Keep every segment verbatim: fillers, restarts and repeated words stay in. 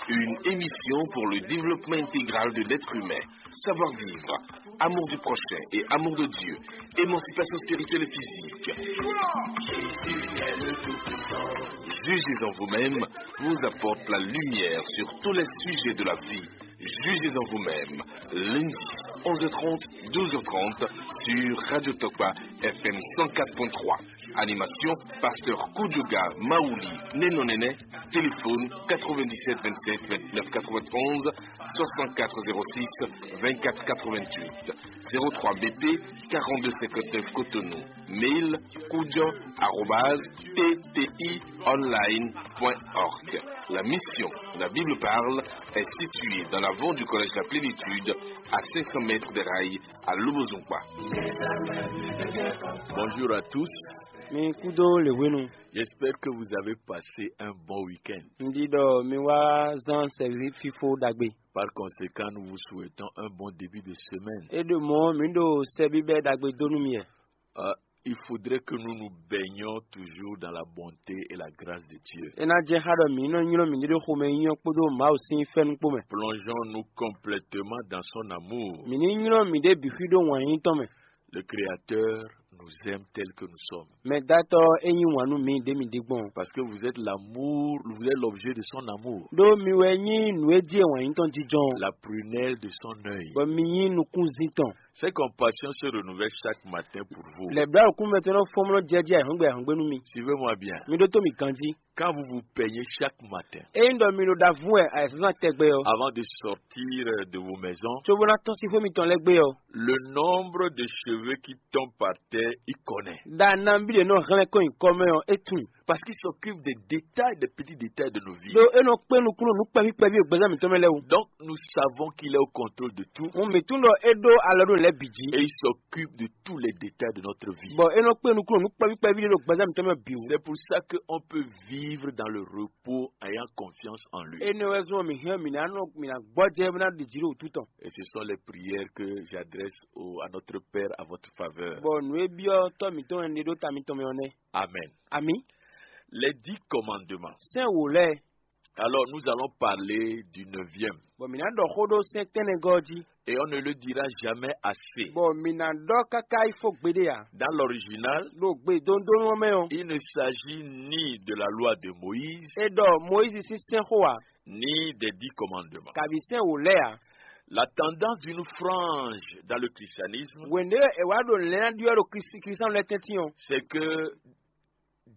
Une émission pour le développement intégral de l'être humain. Savoir-vivre, amour du prochain et amour de Dieu, émancipation spirituelle et physique. Jugez en vous-même vous apporte la lumière sur tous les sujets de la vie. Jugez en vous-même. Lundi, onze heures trente, douze heures trente, sur Radio Tokba, F M cent quatre point trois. Animation, pasteur Koudjouga Maouli Nenonene. Téléphone quatre-vingt-dix-sept vingt-sept vingt-neuf quatre-vingt-onze, soixante-quatre zéro six vingt-quatre quatre-vingt-huit, zéro trois B P, quarante-deux cinquante-neuf Cotonou. Mail, koudjan arobase T T I online point org. La mission, la Bible parle, est située dans l'avant du collège La Plénitude, à cinq cents mètres des rails, à Lobozungba. Bonjour à tous. Mi kúdó lè hwenu. J'espère que vous avez passé un bon week-end. Un ɖi ɖɔ mi wá zán sɛví fífó ɖagbe. Par conséquent, nous vous souhaitons un bon début de semaine. É ɖo mɔ̌ mi ɖo sɛbíbɛ́ ɖagbe dó nú mi wɛ. Euh, il faudrait que nous nous baignions toujours dans la bonté et la grâce de Dieu. É ná jɛ xá ɖɔ mǐ nɔ nylɔ́ mǐɖée ɖo xomɛ nyínyɔ́ kpódó Mawu sín fɛ́nú kpó mɛ. Plongeons-nous complètement dans son amour. Mǐ ní nylɔ́ mǐɖée bǐ xwí ɖó wǎn yíyí tɔn mɛ. Le Créateur nous aime tel que nous sommes. Mɛdátɔ́ é nyí wǎn nú mǐ ɖě mǐ ɖe gbɔn. Parce que vous êtes l'amour, vous êtes l'objet de son amour. Ɖó mi wɛ nyí nǔ e jí e wǎn yíyí tɔn jínjɔ́n. La prunelle de son œil. Bɔ mi nyí nukúnzín tɔn. Ses compassions se renouvellent chaque matin pour vous. Lɛ̌ blá òkú mɛ tɔn nɔ fɔ́n nɔ jɛ jí ayǐhɔ́ngbe ayǐhɔ́ngbe nú mi. Suivez-moi bien. Mi ɖótó mi ganjí. Quand vous vous peignez chaque matin, Ényí ɖɔ mi ɖo ɖavú wɛ ayǐsúsú tɛgbɛ ɔ́, avant de sortir de vos maisons, cóbó ná tɔ́n sín xwé mitɔn lɛ́ɛ gbé ɔ́, le nombre de cheveux qui tombent par terre, il connaît. Ɖa nabí ɖě nɔ hlɛ́n kɔn nyi kɔ mɛ ɔ́, é tunwun. Parce qu'il s'occupe des détails, des petits détails de nos vies. Ɖó é nɔ kpé nukúnnú nǔ kpɛví kpɛví e gbɛzán mǐtɔn mɛ lɛ́ɛ wú. Donc nous savons qu'il est au contrôle de tout. Hǔn mǐ tunwun ɖɔ é ɖó alɔ ɖó nǔ lɛ́ɛ bǐ jí. Et il s'occupe de tous les détails de notre vie. Bɔ é nɔ kpé nukúnnú nǔ kpɛví kpɛví ɖé ɖo gbɛzán mǐtɔn mɛ bǐ wú. C'est pour ça qu'on peut vivre dans le repos, ayant confiance en lui. Énɛ́ wɛ zɔ́n mǐ hɛn mǐ ná nɔ mǐ ná gbɔjɛ́ bó ná ɖi jǐ ɖo wǔtu tɔn. Et ce sont les prières que j'adresse au, à notre Père, à votre faveur. Bɔ nǔ e byɔ́ tɔ́ mǐtɔn e ɖe ɖó ta mitɔn mɛ ɔ́ nɛ́. Amen. Ami. Les dix commandements. Sɛ́n wǒ lɛ́ɛ. Alors, nous allons parler du neuvième. Bɔ mǐ ná ɖɔ xó ɖó sɛ́n tɛ́nnɛgɔ́ jí. Et on ne le dira jamais assez. Bɔ mǐ ná ɖɔ káká yi fó gbeɖé ǎ. Dans l'original, Ɖo gbe dondónú ɔ́ mɛ ɔ́, il ne s'agit ni de la loi de Moïse, é ɖɔ Moyízi sín sɛ́n xó ǎ, ni des dix commandements. Kabi sɛ́n wǒ lɛ́ɛ ǎ. La tendance d'une frange dans le christianisme, Hwenu e è wá ɖo lɛ̌nɖyɔ́ ɖo Kristi Kristiano lɛ́ɛ tɛ́ntin ɔ́, C'est que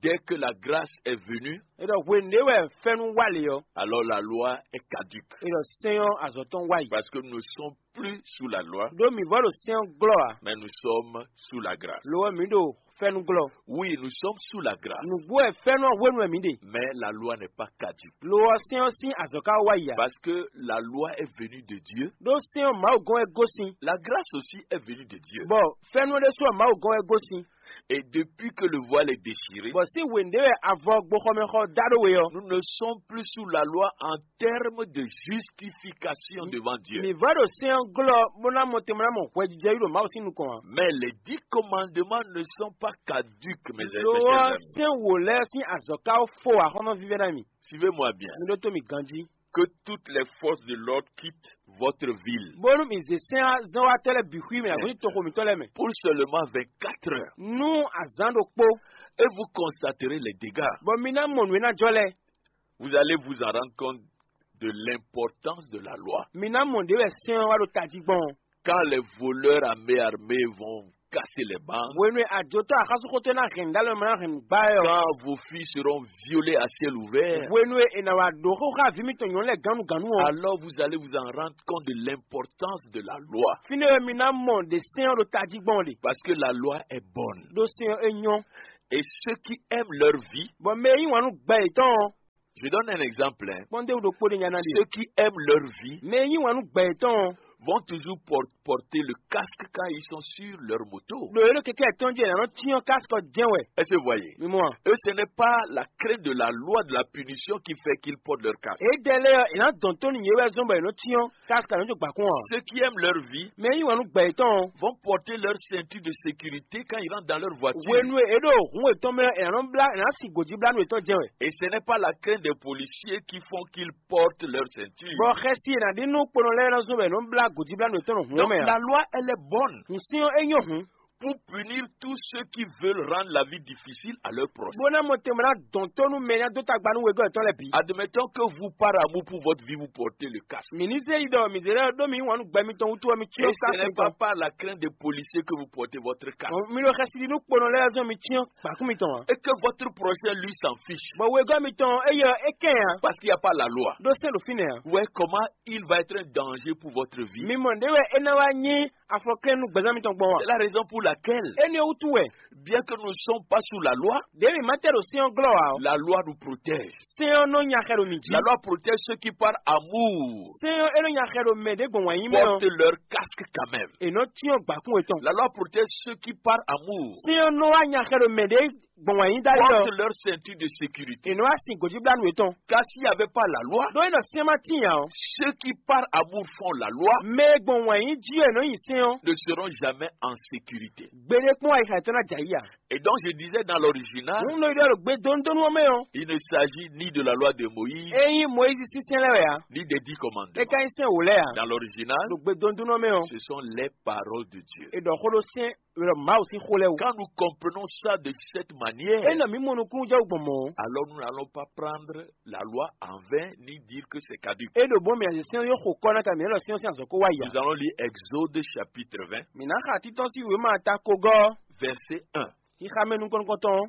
dès que la grâce est venue, é ɖɔ hwenu e wɛ fɛ́nú wá lě ɔ́, alors la loi est caduque. É ɖɔ sɛ́n ɔ́ azɔ̌ tɔn wá yi. Parce que nous ne sommes plus sous la loi, Ɖó mǐ vɔ ɖo sɛ́n ɔ́ glɔ́ ǎ. Mais nous sommes sous la grâce. Lo ɔ́, mǐ ɖo fɛ́nú glɔ́. Oui, nous sommes sous la grâce. Nǔgbó wɛ fɛ́nú ɔ́ hwenu wɛ mǐ ɖe. Mais la loi n'est pas caduque. Lo ɔ́, sɛ́n ɔ́ sín azɔ̌ ka wá yi ǎ. Parce que la loi est venue de Dieu. Ɖó sɛ́n ɔ́ Mawu gɔ́n wɛ gosín. La grâce aussi est venue de Dieu. Bɔ fɛ́nú ɔ́ ɖésú ɔ́ Mawu gɔ́n wɛ gosín. Et depuis que le voile est déchiré, Bɔ sín hwenu ɖé wɛ avɔ gboxɔmɛxɔ dá ɖó we ɔ́, nous ne sommes plus sous la loi en termes de justification devant Dieu. Mǐ vɔ ɖo sɛ́n ɔ́ glɔ́ bó ná mɔ tɛnmɛ ná mɔ hwɛjijɛ yí ɖo Mawu sín nukɔn ǎ. Mais les dix commandements ne sont pas caduques, mes Lo mes chers ɔ́, amis. Sɛ́n wǒ lɛ́ɛ sín azɔ̌ ka fó axɔ́nɔ vívɛ́ná mi. Suivez-moi bien. Mi ɖótó mi ganjí. Que toutes les forces de l'ordre quittent votre ville. Bónú mi zě sɛ́n zɔ́nwatɔ́ lɛ́ɛ bǐ xwí mɛ, agɔ̌n toxo mǐtɔn lɛ́ɛ mɛ. Pour seulement vingt-quatre heures. Nú azǎn ɖokpó. Et vous constaterez les dégâts. Bɔ mi ná mɔ nǔ e ná jɔ lɛ́ɛ. Vous allez vous en rendre compte de l'importance de la loi. Mi ná mɔ ɖě wɛ sɛ́n ɔ́ wá ɖo tají gbɔn. Quand les voleurs à main armée vont casser les banques, Hwenu e ajotɔ́ axɔ́súxótɔ́ ná hɛn nǔ ɖó alɔ mɛ ná hɛn nǔ gbá ɛ ɔ́. Quand vos filles seront violées à ciel ouvert, Hwenu e è nǎ wá ɖǒ xóxó aví mitɔn nyɔ̌nu lɛ́ɛ gǎnnugǎnnu ɔ́. Alors vous allez vous en rendre compte de l'importance de la loi. Fínɛ́ wɛ mi ná mɔ ɖě sɛ́n ɔ́ ɖo tají gbɔn ɖe. Parce que la loi est bonne. Ɖó sɛ́n ɔ́ é nyɔ́. Et ceux qui aiment leur vie, Bɔ mɛ e yí wǎn nú gbɛ yětɔn ɔ́, Je donne un exemple, hein. Kpɔ́n ɖé wú ɖokpó ɖé nya ná ɖe. Ceux qui aiment leur vie Mɛ e yí wǎn nú gbɛ yětɔn ɔ́, vont toujours por- porter le casque quand ils sont sur leur moto. Ɖo é ɖo kɛkɛ tɔn jí ɛ nɔ cyɔn kaskɔ jɛn wɛ. Est-ce que vous voyez? Mi mɔ a? Eux, ce n'est pas la crainte de la loi de la punition qui fait qu'ils portent leur casque. Édɛɛ lɛ́ɛ ɔ́, è nǎ dɔn tó nú yě wɛ zɔ́n bɔ è nɔ cyɔn kaskɔ nɔ jó gbǎkún ɔ́. Ceux qui aiment leur vie Mɛ yí wǎn nú gbɛ yětɔn ɔ́. Vont porter leur ceinture de sécurité quand ils rentrent dans leur voiture. Hwenu e è ɖo hǔn yětɔn mɛ ɔ́, è nǎ nɔ blá è nǎ sin gǒjíblánú yětɔn jɛn wɛ. Et ce n'est pas la crainte des policiers qui font qu'ils portent leur ceinture. Bɔ xɛsi e è nǎ ɖi nú kponɔ lɛ́ɛ nɔ zɔ́n bɔ è nɔ blá gǒjíblánú yětɔn ɖo hǔn ɔ́ Donc mɛ ǎ. La loi, elle est bonne Hǔn syɔ́n é nyɔ́ hǔn. Pour punir tous ceux qui veulent rendre la vie difficile à leur prochain. Bó ná mɔ tɛnmɛ ná dɔn tó nú mɛ e ná dó tagba nú wegɔ́ yětɔn lɛ́ɛ bǐ. Admettons que vous, par amour pour votre vie, vous portez le casque. Mǐ ní zé yi ɖɔ mǐ zé lɛ́ ɖó mǐ wǎn nú gbɛ mitɔn wútu ɔ́, mi Et cyɔ́ ce n'est kafu pas mitɔn. Par la crainte des policiers que vous portez votre casque. Mi ɖo xɛsi ɖi nú kponɔ lɛ́ɛ zɔn mi cyɔ́ gbǎkún mitɔn ǎ. Et que votre prochain, lui, s'en fiche. Bɔ wegɔ́ mitɔn éyɛ́ ɔ́, é kɛn ǎ. Parce qu'il n'y a pas la loi. Ɖó sɛ́n ɖo fínɛ́ ǎ. Vous voyez comment il va être un danger pour votre vie. Mi mɔ nǔɖé wɛ é ná wá nyí afɔklɛ́n nú gbɛzán mitɔn gbɔn a? C'est la raison pour laquelle, Énɛ́ wútu wɛ, bien que nous ne sommes pas sous la loi, ɖěe mǐ ma tɛ ɖo sɛ́n ɔ́ glɔ́ ǎ ɔ́, la loi nous protège. Sɛ́n ɔ́ nɔ nya xɛ ɖo mǐ jí. La loi protège ceux qui, par amour, Sɛ́n ɔ́ é nɔ nya xɛ ɖo mɛ ɖě gbɔn wǎn yí mɛ ɔ́. Portent leur casque quand même. È nɔ cyɔ́n gbǎkún yětɔn. La loi protège ceux qui, par amour, Sɛ́n ɔ́ nɔ wá nya xɛ ɖo mɛ ɖě gbɔn wǎn yí dali ɔ́. Portent leur ceinture de sécurité. È nɔ wá sin gǒjíblánú yětɔn. Car s'il n'y avait pas la loi, Ɖó é nɔ sɛ́n ma tíin ǎ ɔ́, ceux qui, par amour, font la loi mɛ e gbɔn wǎn yí jí wɛ è nɔ nyi sɛ́n ɔ́, ne seront jamais en sécurité. Gbeɖé kpɔ́n ayixa yětɔn ná jɛ ayǐ ǎ. Et donc, je disais dans l'original, Nǔ nɔ ɖɔ ɖo gbe dónúdónú ɔ́ mɛ ɔ́, il ne s'agit ni de la loi de Moïse, é nyí Mɔyízi sín sɛ́n lɛ́ɛ wɛ ǎ. Ni des dix commandements. É ka nyí sɛ́n wǒ lɛ́ɛ ǎ. Dans l'original, Ɖo gbe dónúdónú ɔ́ mɛ ɔ́, ce sont les paroles de Dieu. È ɖɔ xó ɖó sɛ́n, è ɖɔ Mawu sín xó lɛ́ɛ wú. Quand nous comprenons ça de cette manière, É nɔ mǐ mɔ nukúnnú jɛ wú gbɔn mɔ̌. Alors nous n'allons pas prendre la loi en vain ni dire que c'est caduc. É ɖo bɔ mǐ azě sɛ́n yó xo kɔ́ ná ka mǐ nɔ sɛ́n sín azɔ̌ kó wá yi ǎ. Nous allons lire Exode chapitre vingt, Mǐ ná xa títɔ́n sín wěma ta kogɔ́. Verset un. Xixa mɛ nukɔn nukɔntɔn.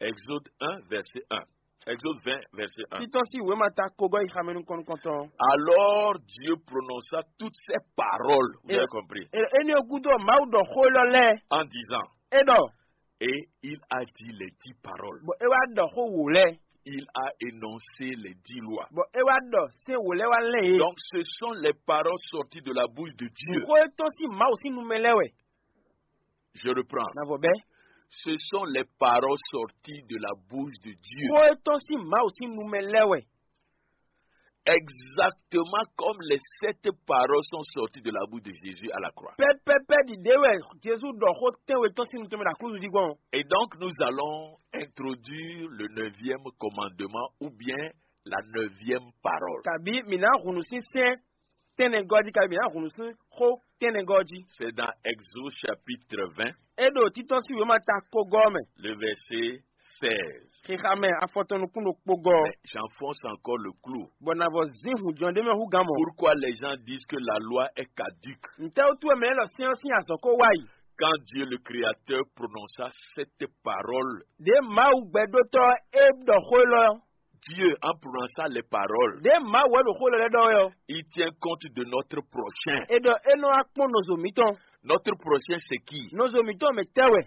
Exode un, verset un. Exode vingt, verset un. Títɔ́n sín wěma ta kogɔ́ xixa mɛ nukɔn nukɔntɔn. Alors Dieu prononça toutes ces paroles. Vous avez compris? É ní ɔ́ gúdo Mawu ɖɔ xó élɔ́ lɛ́ɛ. En disant, É ɖɔ. Et il a dit les dix paroles. Bɔ é wá ɖɔ xó wǒ lɛ́ɛ. Il a énoncé les dix lois. Bɔ é wá ɖɔ sɛ́n wǒ lɛ́ɛ wá lɛ́n yě. Donc, ce sont les paroles sorties de la bouche de Dieu. Xó e tɔ́n sín Mawu sín nu mɛ lɛ́ɛ wɛ. Je reprends. Na vɔ bɛ́. Ce sont les paroles sorties de la bouche de Dieu. Xó e tɔ́n sín Mawu sín nu mɛ lɛ́ɛ wɛ. Exactement comme les sept paroles sont sorties de la bouche de Jésus à la croix. Pɛpɛpɛ ɖiɖe wɛ Jezu ɖɔ xó tɛnwe tɔn sín nutɛnmɛ ɖo aklúzu jí gbɔn. Et donc nous allons introduire le neuvième commandement ou bien la neuvième parole. Kabi mǐ ná hunu sín sɛ́n tɛnɛgɔ́ jí, kabi mǐ ná hunu sín xó tɛnɛgɔ́ jí. C'est dans Exode chapitre vingt, É ɖo títɔ́ sín wěma ta kpogɔ́ mɛ. Le verset seize. Xixa mɛ afɔtɔn nukún ɖokpó gɔ́. Mais j'enfonce encore le clou. Bɔ na vɔ zin hǔn jɔn ɖé mɛ hú gán mɔ. Pourquoi les gens disent que la loi est caduque? Ntɛ́ wútu wɛ mɛ élɔ́ sɛ́n ɔ́ sín azɔ̌ ko wá yi? Quand Dieu le Créateur prononça cette parole, Ɖě Mawu gbɛɖótɔ́ é ɖɔ xó élɔ́ ɔ́. Dieu, en prononçant les paroles, Ɖě Mawu wɛ ɖo xó élɔ́ lɛ́ɛ ɖɔ wɛ ɔ́. Il tient compte de notre prochain. É ɖɔ é nɔ wá kpɔ́n nɔzo mǐtɔn. Notre prochain, c'est qui? Nɔzo mǐtɔn mɛ tɛ́ wɛ?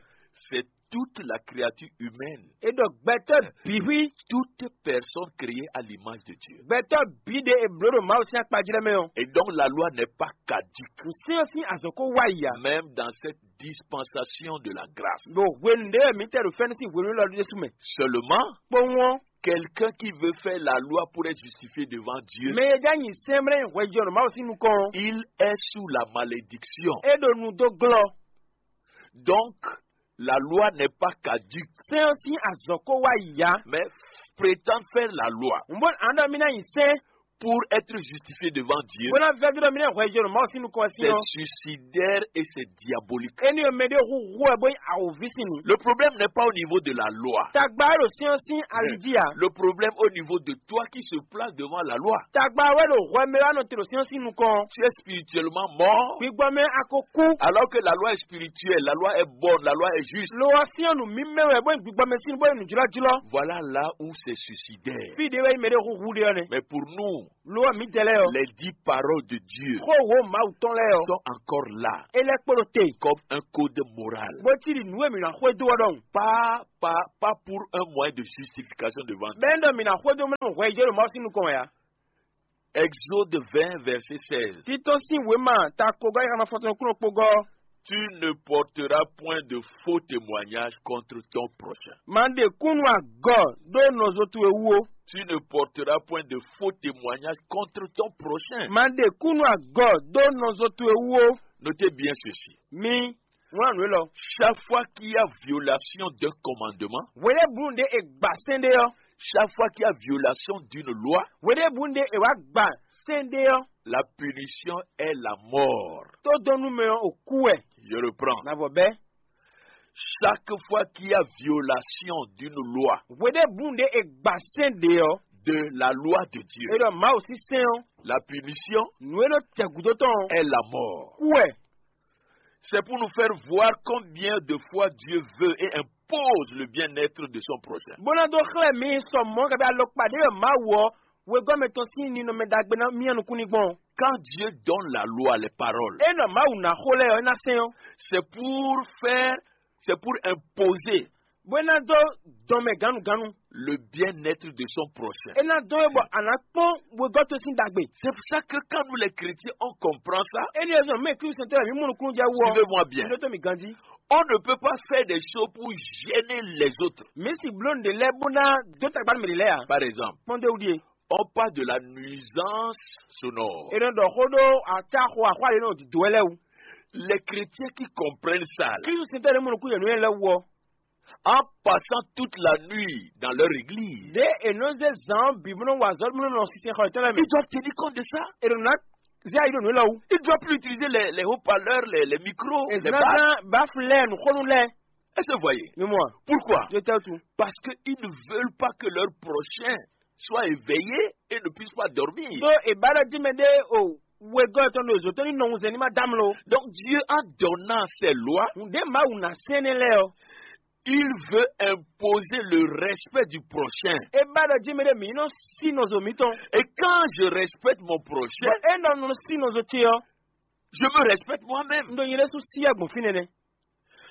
C'est toute la créature humaine. É ɖɔ gbɛtɔ́ bǐ xwí. Toute personne créée à l'image de Dieu. Gbɛtɔ́ bǐ ɖe è blǒ ɖo Mawu sín akpa jí lɛ́ɛ mɛ ɔ́. Et donc la loi n'est pas caduque. Nǔsɛ́n ɔ́ sín azɔ̌ ko wá yi ǎ. Même dans cette dispensation de la grâce. Ɖo hwenu ɖé wɛ mǐ tɛ ɖo fɛ́nú sín hwenu élɔ́ ɖésú mɛ. Seulement, Kpowun ɔ́, quelqu'un qui veut faire la loi pour être justifié devant Dieu, mɛ e já nyi sɛ́nmlɛ́ hwɛjɔnɔ Mawu sín nukɔn ɔ́, il est sous la malédiction. É ɖo nu dó glɔ́. Donc, la loi n'est pas caduque. Sɛ́n ɔ́ sín azɔ̌ ko wá yi ǎ. Mais prétendre faire la loi N bó ǎ ɖɔ mì ná nyi sɛ́n pour être justifié devant Dieu, bó ná vɛ́ dó ɖɔ mì ná hwɛjɔnɔ Mawu sín nukɔn ɔ́ sín c'est ɔ́, suicidaire et c'est diabolique. Énɛ́ ɔ́ mɛ ɖé hu hu wɛ bó nyí awǒvi sín nu. Le problème n'est pas au niveau de la loi. Tagba wɛ ɖo sɛ́n ɔ́ sín ali jí ǎ. Le problème au niveau de toi qui se place devant la loi. Tagba wɛ ɖo hwɛ mɛ wá nɔ te ɖo sɛ́n ɔ́ sín nukɔn. Tu es spirituellement mort. Gbigbɔ mɛ a ko kú. Alors que la loi est spirituelle, la loi est bonne, la loi est juste. Lo ɔ́ sɛ́n ɔ́ nǔ mímɛ́ wɛ bó nyí gbigbɔ mɛ sín bó nyí nǔjlɔ́jlɔ́. Voilà là où c'est suicidaire. Fí ɖé wɛ nyí mɛ ɖé hu hu ɖé ɔ́ nɛ́. Mais pour nous, Lo ɔ́ mǐdɛɛ lɛ́ɛ ɔ́, les dix paroles de Dieu Xó wǒ Mawu tɔn lɛ́ɛ ɔ́, sont encore là é lɛ́ kpo ɖo te, comme un code moral. Bó cí ɖi nǔ e mǐ ná xwedó ɔ́ ɖɔhun. Pas, pas, pas pour un moyen de justification devant Dieu. Bɛ́ ɖɔ mǐ ná xwedó mɛ hwɛ yi jɛ ɖo Mawu sín nukɔn wɛ ǎ. Exode vingt, verset seize. Títɔ́ sín wěma ta kogɔ́ yi xana fɔtɔn kúnɔ kpogɔ́. Tu ne porteras point de faux témoignages contre ton prochain. Ma ɖe kúnnu agɔ ɖó nɔzo towe wú ó. Tu ne porteras point de faux témoignages contre ton prochain. Ma ɖe kúnnu agɔ ɖó nɔzo towe wú ó. Notez bien ceci. Mi wlán nǔ élɔ́. Chaque fois qu'il y a violation d'un commandement, Hweɖěbǔnu ɖě è gbǎ sɛ́n ɖé ɔ́, chaque fois qu'il y a violation d'une loi, hweɖěbǔnu ɖě è wǎ gbǎ sɛ́n ɖé ɔ́, la punition est la mort. Tó dɔn nú mɛ ɔ́, ò kú wɛ. Je reprends. Navɔ bɛ́. Chaque fois qu'il y a violation d'une loi, Hweɖěbǔnu ɖě è gbǎ sɛ́n ɖě ɔ́, de la loi de Dieu, é ɖɔ Mawu sín sɛ́n ɔ́, la punition nǔ e nɔ jɛ gǔdo tɔn ɔ́, Est la mort. Kú wɛ. C'est pour nous faire voir combien de fois Dieu veut et impose le bien-être de son prochain. Bó ná dó xlɛ́ mi sɔ mɔ̌ kabi alɔkpa ɖé wɛ Mawu ɔ́ wegɔ́ mɛtɔn sín ninɔmɛ ɖagbe ná myá nukún ní gbɔn. Quand Dieu donne la loi, les paroles, É nɔ Mawu ná xó lɛ́ɛ ɔ́, é ná sɛn ɔ́, c'est pour faire, c'est pour imposer bó é ná dó dɔn mɛ gannugánnu. Le bien-être de son prochain. É ná dɔn é bɔ a nǎ kpɔ́n wegɔ́ towe sín ɖagbe. C'est pour ça que quand nous les chrétiens, on comprend ça, É ní ɛzɔn mɛ Klísu sɛntɔ́ mǐ mɔ nukúnnú jɛ wú ɔ́, suivez-moi bien, mi ɖótó mǐ ganjí. On ne peut pas faire des choses pour gêner les autres. Mǐ si bló nǔɖé lɛ́ɛ bó ná dó tagba nú mɛ ɖě lɛ́ɛ ǎ. Par exemple, Kpɔ́n dó wú ɖíe. On parle de la nuisance sonore. È nɔ ɖɔ xó ɖó acáxo axwá ɖě nɔ dǒ wɛ lɛ́ɛ wú. Les chrétiens qui comprennent ça, là, Klísu sɛntɔ́ ɖě mɔ nukún yě nú ɛ lɛ́ɛ wú ɔ́, en passant toute la nuit dans leur église, ɖě è nɔ zé zǎn ɔ́ bǐ bó nɔ wa azɔ̌ bó nɔ nɔ sinsɛnxɔ yětɔn lɛ́ɛ mɛ. Ils doivent tenir compte de ça. È nɔ ná zé ayi ɖo nǔ élɔ́ wú. Ils doivent plus utiliser les, les haut-parleurs, les, les micros, È les zǎn bases. Zán báflɛ́ nǔxónú lɛ́ɛ. Est-ce que vous voyez? Mi mɔ a? Pourquoi? Ɖó tɛ́ wútu? Parce qu'ils ne veulent pas que leur prochain soit éveillé et ne puisse pas dormir. Ɖó è ba ɖɔ jí mɛ ɖé o wegɔ́ tɔn ɖo zǒ tɔn ní nɔ wunsɛn ní ma dá mló. Donc Dieu, en donnant ses lois, Nǔɖé Mawu ná sɛn nɛ́ lɛ́ɛ ɔ́, il veut imposer le respect du prochain. É ba ɖɔ jí mɛ ɖé mǐ nɔ sí nɔzo mǐtɔn. Et quand je respecte mon prochain, Bɔ é nɔ nɔ sí nɔzo ce ɔ́, je me respecte moi-même. Un ɖo nyɛ ɖésú sí agbɔ̌n fínɛ́ nɛ́.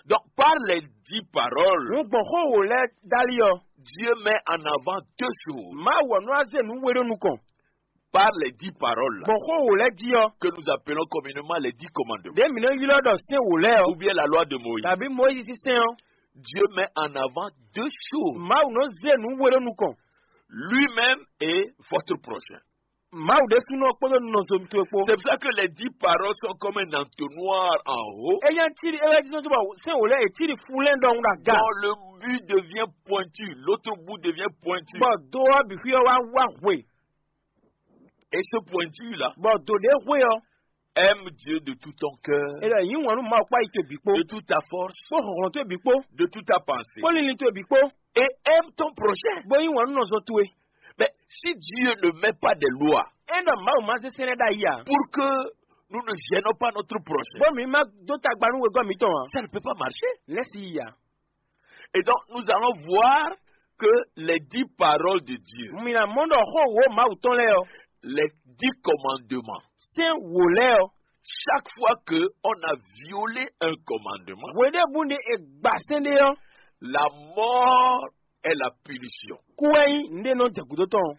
Donc, par les dix paroles, Nǔ gbɔn xó wǒ lɛ́ɛ dali ɔ́, Dieu met en avant deux choses. Mawu ɔ́ nɔ wá zé nǔ we ɖó nukɔn. Par les dix paroles là, Gbɔn xó wǒ lɛ́ɛ jí ɔ́, que nous appelons communément les dix commandements, Ɖě mǐ nɔ ylɔ́ ɖɔ sɛ́n wǒ lɛ́ɛ ɔ́, ou bien la loi de Moïse, tàbí Moyízi sín sɛ́n ɔ́, Dieu met en avant deux choses. Mawu nɔ zé nǔ we ɖó nukɔn. Lui-même et votre prochain. Mawu ɖésúnɔ kpódó nɔzo towe kpó. C'est pour ça que les dix paroles sont comme un entonnoir en haut. É nyí acíɖi é wɛ jí nɔ bɔ sɛ́n wǒ lɛ́ɛ è cíɖi fúnlɛ́n ɖɔhun ɖo aga. Dont le but devient pointu, l'autre bout devient pointu. Bɔ do ɔ́ bǐ xwí ɔ́ wá wá hwe. Et ce pointu-là, Bɔ do ɖě hwe ɔ́, Aime Dieu de tout ton cœur, é ɖɔ yǐ wǎn nú Mawu kpó ayi towe bǐ kpó, de toute ta force, kpó hlɔ̌nhlɔ́n towe bǐ kpó, de toute ta pensée, kpó linlin towe bǐ kpó, et aime ton prochain. Bó yí wǎn nú nɔzo towe. Mais si Dieu ne met pas des lois, É ɖɔ Mawu ma zé sɛ́n lɛ́ɛ ɖ'ayǐ ǎ, pour que nous ne gênons pas notre prochain, bó mǐ ma dó tagba nú wegɔ́ mǐtɔn ǎ, ça ne peut pas marcher. Lɛ́ si yi ǎ. Et donc, nous allons voir que les dix paroles de Dieu, Mi ná mɔ ɖɔ xó wǒ Mawu tɔn lɛ́ɛ ɔ́, les dix commandements, sɛ́n wǒ lɛ́ɛ ɔ́, chaque fois que on a violé un commandement, hweɖěbǔ ɖé è gba sɛ́n ɖé ɔ́, la mort est la punition. Kú wɛ nyí nǔɖé nɔ jɛ gǔdo tɔn.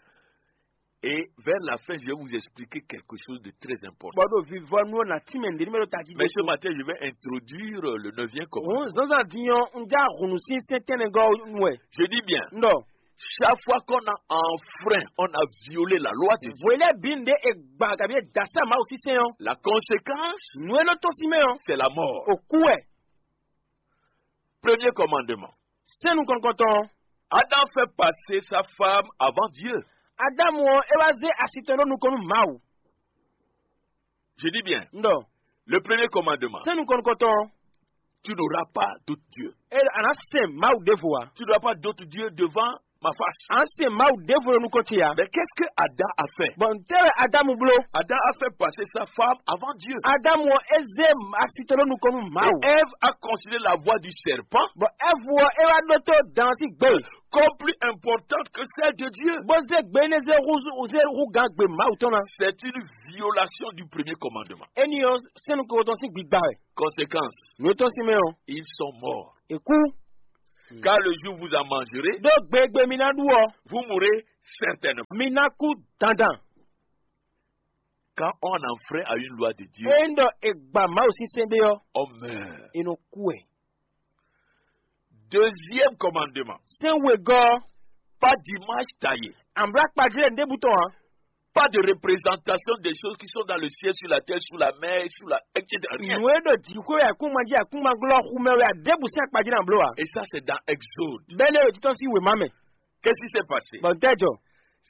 Et vers la fin, je vais vous expliquer quelque chose de très important. Bɔ ɖo vivɔnu ɔ́ nà tínmɛ nǔɖé mɛ ɖo tají. Mais ce matin, je vais introduire le neuvième commandement. Òun zǎnzǎn din ɔ́, un já hǔnú sín sɛ́n tɛ́nnɛgɔ́ nu wɛ. Je dis bien, Un ɖɔ chaque fois qu'on a enfreint, on a violé la loi de Dieu, hwelɛ bǐ nǔɖé è gba kabi è da sá Mawu sín sɛ́n ɔ́, la conséquence, nǔ e nɔ tɔ́n sín mɛ ɔ́, c'est la mort. Ò kú wɛ. Premier commandement. Sɛ́n nukɔntɔn. Adam fait passer sa femme avant Dieu. Adamu ɔ́, é wá zé asi tɔn ɖó nukɔn nú Mawu. Je dis bien, Un ɖɔ le premier commandement, sɛ́n nukɔntɔn. Tu n'auras pas d'autre Dieu. É a nǎ sɛn Mawu ɖěvo ǎ. Tu n'auras pas d'autre Dieu devant ma face. A nǎ sɛn Mawu ɖěvo ɖo nukɔn ce ǎ. Mais qu'est-ce que Adam a fait? Bɔn ntɛ́ wɛ Adamu bló? Adam a fait passer sa femme avant Dieu. Adamu ɔ́, é zé asi tɔn ɖó nukɔn nú Mawu. Et Ève a considéré la voix du serpent. Bɔn Ɛvu ɔ́, é wá ɖótó dan ɔ́ sín gbe comme plus importante que celle de Dieu. Bó zé gbe énɛ́ zé hú zé hú gán gbe Mawu tɔn ná. C'est une violation du premier commandement. Éní ɔ́, sɛ́n nukɔntɔn sín gbigba wɛ. Conséquence, Nǔ e tɔ́n sín mɛ ɔ́, ils sont morts. È kú. Car le jour où vous en mangerez, Ɖó gbegbe mi ná ɖu ɔ́, vous mourrez certainement. Mi ná kú dandan. Quand on enfreint à une loi de Dieu, Ényí ɖɔ è gba Mawu sín sɛ́n ɖé ɔ́, on meurt. È nɔ kú wɛ. Deuxième commandement, Sɛ́n wegɔ́ ɔ́, pas d'image taillée, amlɔ akpajlɛ́ ɖěbǔ tɔn ǎ. Pas de représentation des choses qui sont dans le ciel, sur la terre, sous la mer, sous la, et cetera. Rien. Nǔ e ɖo jǐxwé wɛ, akúnmají akúnmaglɔ́ xu mɛ wɛ, a ɖěbǔ sín akpajlɛ́ ǎ bló ǎ. Et ça, c'est dans Exode. Bɛ́ nɛ́ ɖo títɔ́ sín wěma mɛ. Qu'est-ce qui s'est passé? Bɔ tɛ́ jɔ.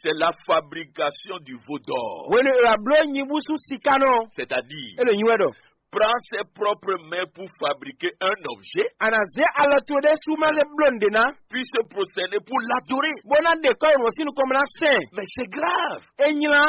C'est la fabrication du veau d'or. Hwenu e è wá bló nyibúsú siká nɔ, C'est-à-dire, é ɖo nyi wɛ ɖɔ prends ses propres mains pour fabriquer un objet, a nǎ zé alɔ towe ɖésú ma lɛ́ bló nǔɖé ná, puis se prosterner pour l'adorer. Bó ná ɖe kɔ́ ɖo sín nukɔn bó ná sɛn. Mais c'est grave. É nylá.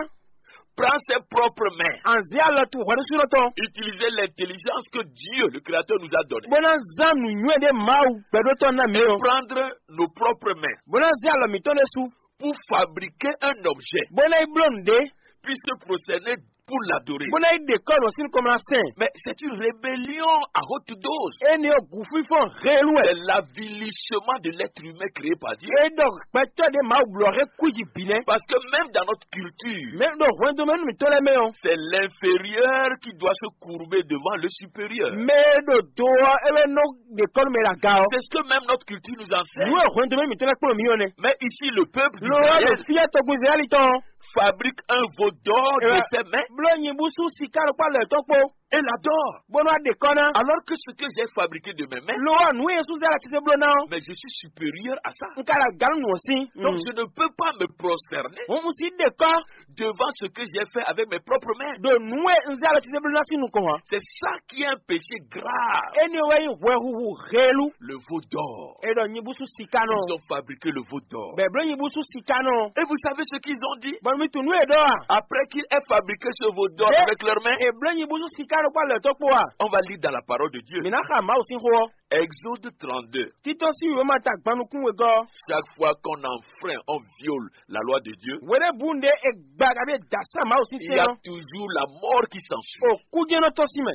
Prends ses propres mains. A nǎ zé alɔ towe hwɛɖésúnɔ tɔn, Utiliser l'intelligence que Dieu, le Créateur, nous a donnée. Bó ná zán nǔnywɛ́ ɖé Mawu gbɛɖótɔ́ ná mǐ ɔ́. Prendre nos propres mains Bó ná zé alɔ mǐtɔn ɖésú, pour fabriquer un objet, bó ná yi bló nǔɖé, puis se prosterner pour l'adorer. Bó ná yi ɖe kɔ́ ɖo sín nukɔn bó ná sɛn. Mais c'est une rébellion à haute dose. Énɛ́ ɔ́, gǔfífɔ́n helu wɛ. C'est l'avilissement de l'être humain créé par Dieu. É ɖɔ gbɛtɔ́ ɖé Mawu blɔ hɛn kwíji bǐ nɛ́. Parce que même dans notre culture, Mɛ ɖo hwɛndo mɛ nú mǐtɔn lɛ́ɛ mɛ ɔ́, c'est l'inférieur qui doit se courber devant le supérieur. Mɛ e ɖo do ɔ́, é wɛ nɔ ɖe kɔ́ nú mɛ ɖo aga ɔ́. C'est ce que même notre culture nous enseigne. Nǔ e hwɛndo mɛ mǐtɔn lɛ́ɛ kplɔ́n mǐ ɔ́ nɛ́. Mais ici, le peuple Lo ɔ́ ɖo d'Israël fí ɔ́ tɔgún Izlayɛ́li tɔn ɔ́. Fabrique un veau d'or de ses mains bló nyibúsú siká ɖokpó alɔ yětɔn kpó, et l'adore. Bó nɔ́ wá ɖe kɔ́ ná. Alors que ce que j'ai fabriqué de mes mains, Lo ɔ́, nǔ e Yɛsu zɛ lɛ́ɛ titewungbe bló ná ɔ́, mais je suis supérieur à ça. Un ka ɖo aga nú nǔ ɔ́ sín. Donc, je ne peux pas me prosterner Hǔn un sixú ɖe kɔ́ devant ce que j'ai fait avec mes propres mains. Ɖo nǔ e un zɛ alɔ titewungbe bló ná sín nukɔn ǎ. C'est ça qui est un péché grave. Énɛ́ wɛ nyí hwɛhuhu helu. Le veau d'or. É ɖɔ nyibúsú siká nɔ. Ils ont fabriqué le veau d'or. Bɔ è bló nyibúsú siká nɔ. Et vous savez ce qu'ils ont dit? Bɔ mi tunwun nǔ e è ɖɔ a? Après qu'il ait fabriqué ce veau d'or avec leurs mains, È bló nyibúsú siká nɔ kpó alɔ yětɔn kpó a? On va lire dans la parole de Dieu. Mǐ ná xa Mawu sín xó ɔ́. Exode trente-deux. Títɔ́ sín wěma ta gban nukún wegɔ́. Chaque fois qu'on enfreint, on viole la loi de Dieu, Hweɖěbǔ ɖé è gba kabi è da sá Mawu sín il y sɛ́n a ɔ́, toujours la mort qui s'ensuit. Òkú jɛ́n nɔ tɔ́n sín mɛ.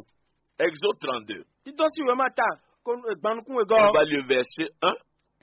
Exode trente-deux. Títɔ́ sín wěma ta ko gban nukún wegɔ́. On va lire verset un,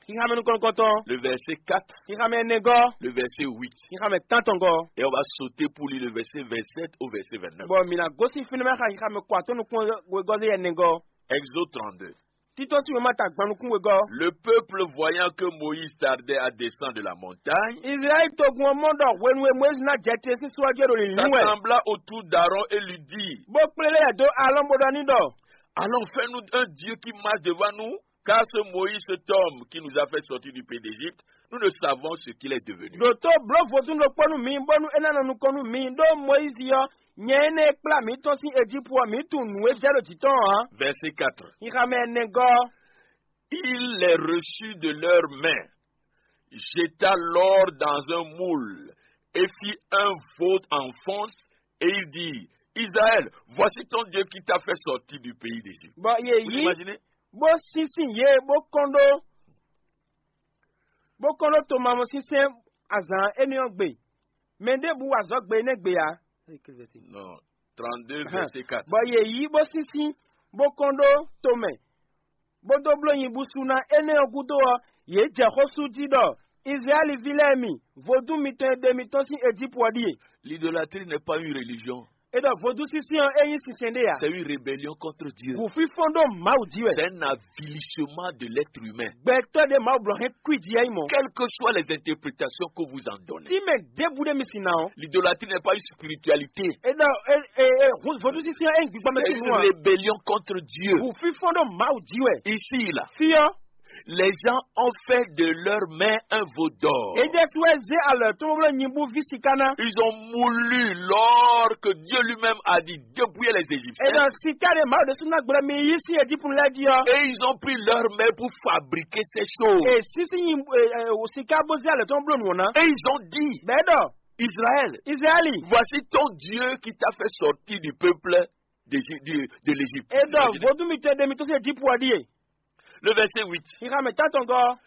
Xixamɛ nukɔntɔn, le verset quatre, xixamɛ ɛnɛgɔ́, le verset huit. Xixamɛ tántɔngɔ́. Et on va sauter pour lire le verset vingt-sept au verset vingt-neuf. Bɔ mǐ ná gosín fínɛ́ mɛ xa xixamɛ kɔ atɔ́ nukún wegɔ́ ɖé ɛnɛgɔ́. Exode trente-deux. Títɔ́ sín wěma ta gban nukún wegɔ́. Le peuple, voyant que Moïse tardait à descendre de la montagne, Izlayɛ́li togun ɔ́ mɔ ɖɔ hwenu e Mɔyízi ná jɛ te sín só ɔ́ jí é ɖo lǐnlín wɛ, s'assembla autour d'Aaron et lui dit, Bó kplé lɛ́ yɛ dó Alɔ́ɔn bó ɖɔ n'i ɖɔ: Allons, fais-nous un Dieu qui marche devant nous, car ce Moïse, cet homme qui nous a fait sortir du pays d'Égypte, nous ne savons ce qu'il est devenu. Ɖǒtó blǒ vodún ɖokpó nú mi, bónú é ná nɔ nukɔn nú mi, ɖó Mɔyízi ɔ́, nyɛ énɛ́ e kplá mǐ tɔ́n sín Ejípu ɔ́, mǐ tunwun nǔ e jɛ ɖo jǐ tɔn ǎ. Verset quatre. Xixamɛ ɛnɛgɔ́. Il les reçut de leurs mains, jeta l'or dans un moule et fit un veau en fonte, et il dit, Israël, voici ton Dieu qui t'a fait sortir du pays d'Égypte. Bɔ yě Vous yí imaginez? Bó sínsín yě bó kɔn ɖó bó kɔn ɖó tomamɔsinsɛn azǎn énɛ́ ɔ́ gbe. Mɛ ɖěbǔ wa azɔ̌ gbe énɛ́ gbe ǎ. Non, trente-deux, verset quatre. Bɔ yě yí bó sínsín bó kɔn ɖó tomɛ, bó dó bló nyibúsú ná énɛ́ ɔ́ gúdo ɔ́, yě jɛ xó sú jí ɖɔ Izlayɛ́li ví lɛ́ɛ mi, vodún mitɔn e ɖe mi tɔ́n sín Ejípu ɔ́ ɖíe. L'idolâtrie n'est pas une religion. É ɖɔ vodúnsínsɛ́n ɔ́ é nyí sinsɛn ɖé ǎ. C'est une rébellion contre Dieu. Gǔfífɔ́n ɖó Mawu jí wɛ. C'est un avilissement de l'être humain. Gbɛtɔ́ ɖé Mawu blɔ hɛn kwíji yá yi mɔ. Quelles que soient les interprétations que vous en donnez, Tí mɛ ɖěbǔ ɖé mi sin ná ɔ́, l'idolâtrie n'est pas une spiritualité. É ɖɔ é é é vodúnsínsɛ́n ɔ́ é nyí gbígbá mɛ C'est sín une nú ǎ. Rébellion contre Dieu. Gǔfífɔ́n ɖó Mawu jí wɛ. Ici, là, Fí ɔ́, les gens ont fait de leurs mains un veau d'or. É ɖésú wɛ zé alɔ tɔn bó bló nyibú ví siká ná. Ils ont moulu l'or que Dieu lui-même a dit dépouiller les Égyptiens. É ɖɔ siká ɖé Mawu ɖésú ná gblɔ mi yí sí Ejípu lɛ́ɛ jí ɔ́. Et ils ont pris leurs mains pour fabriquer ces choses. É sísí nyi é é siká bó zé alɔ tɔn bló nǔ ɔ́ ná. Et ils ont dit, Bɛ̌ ɖɔ Israël, Izlayɛ́li, voici ton Dieu qui t'a fait sortir du peuple d'Égy- du- de l'Égypte. É ɖɔ vodún mitɔn e ɖe mi tɔ́n sín Ejípu ɔ́ ɖíe. Le verset huit. Xixamɛ tántɔngɔ́.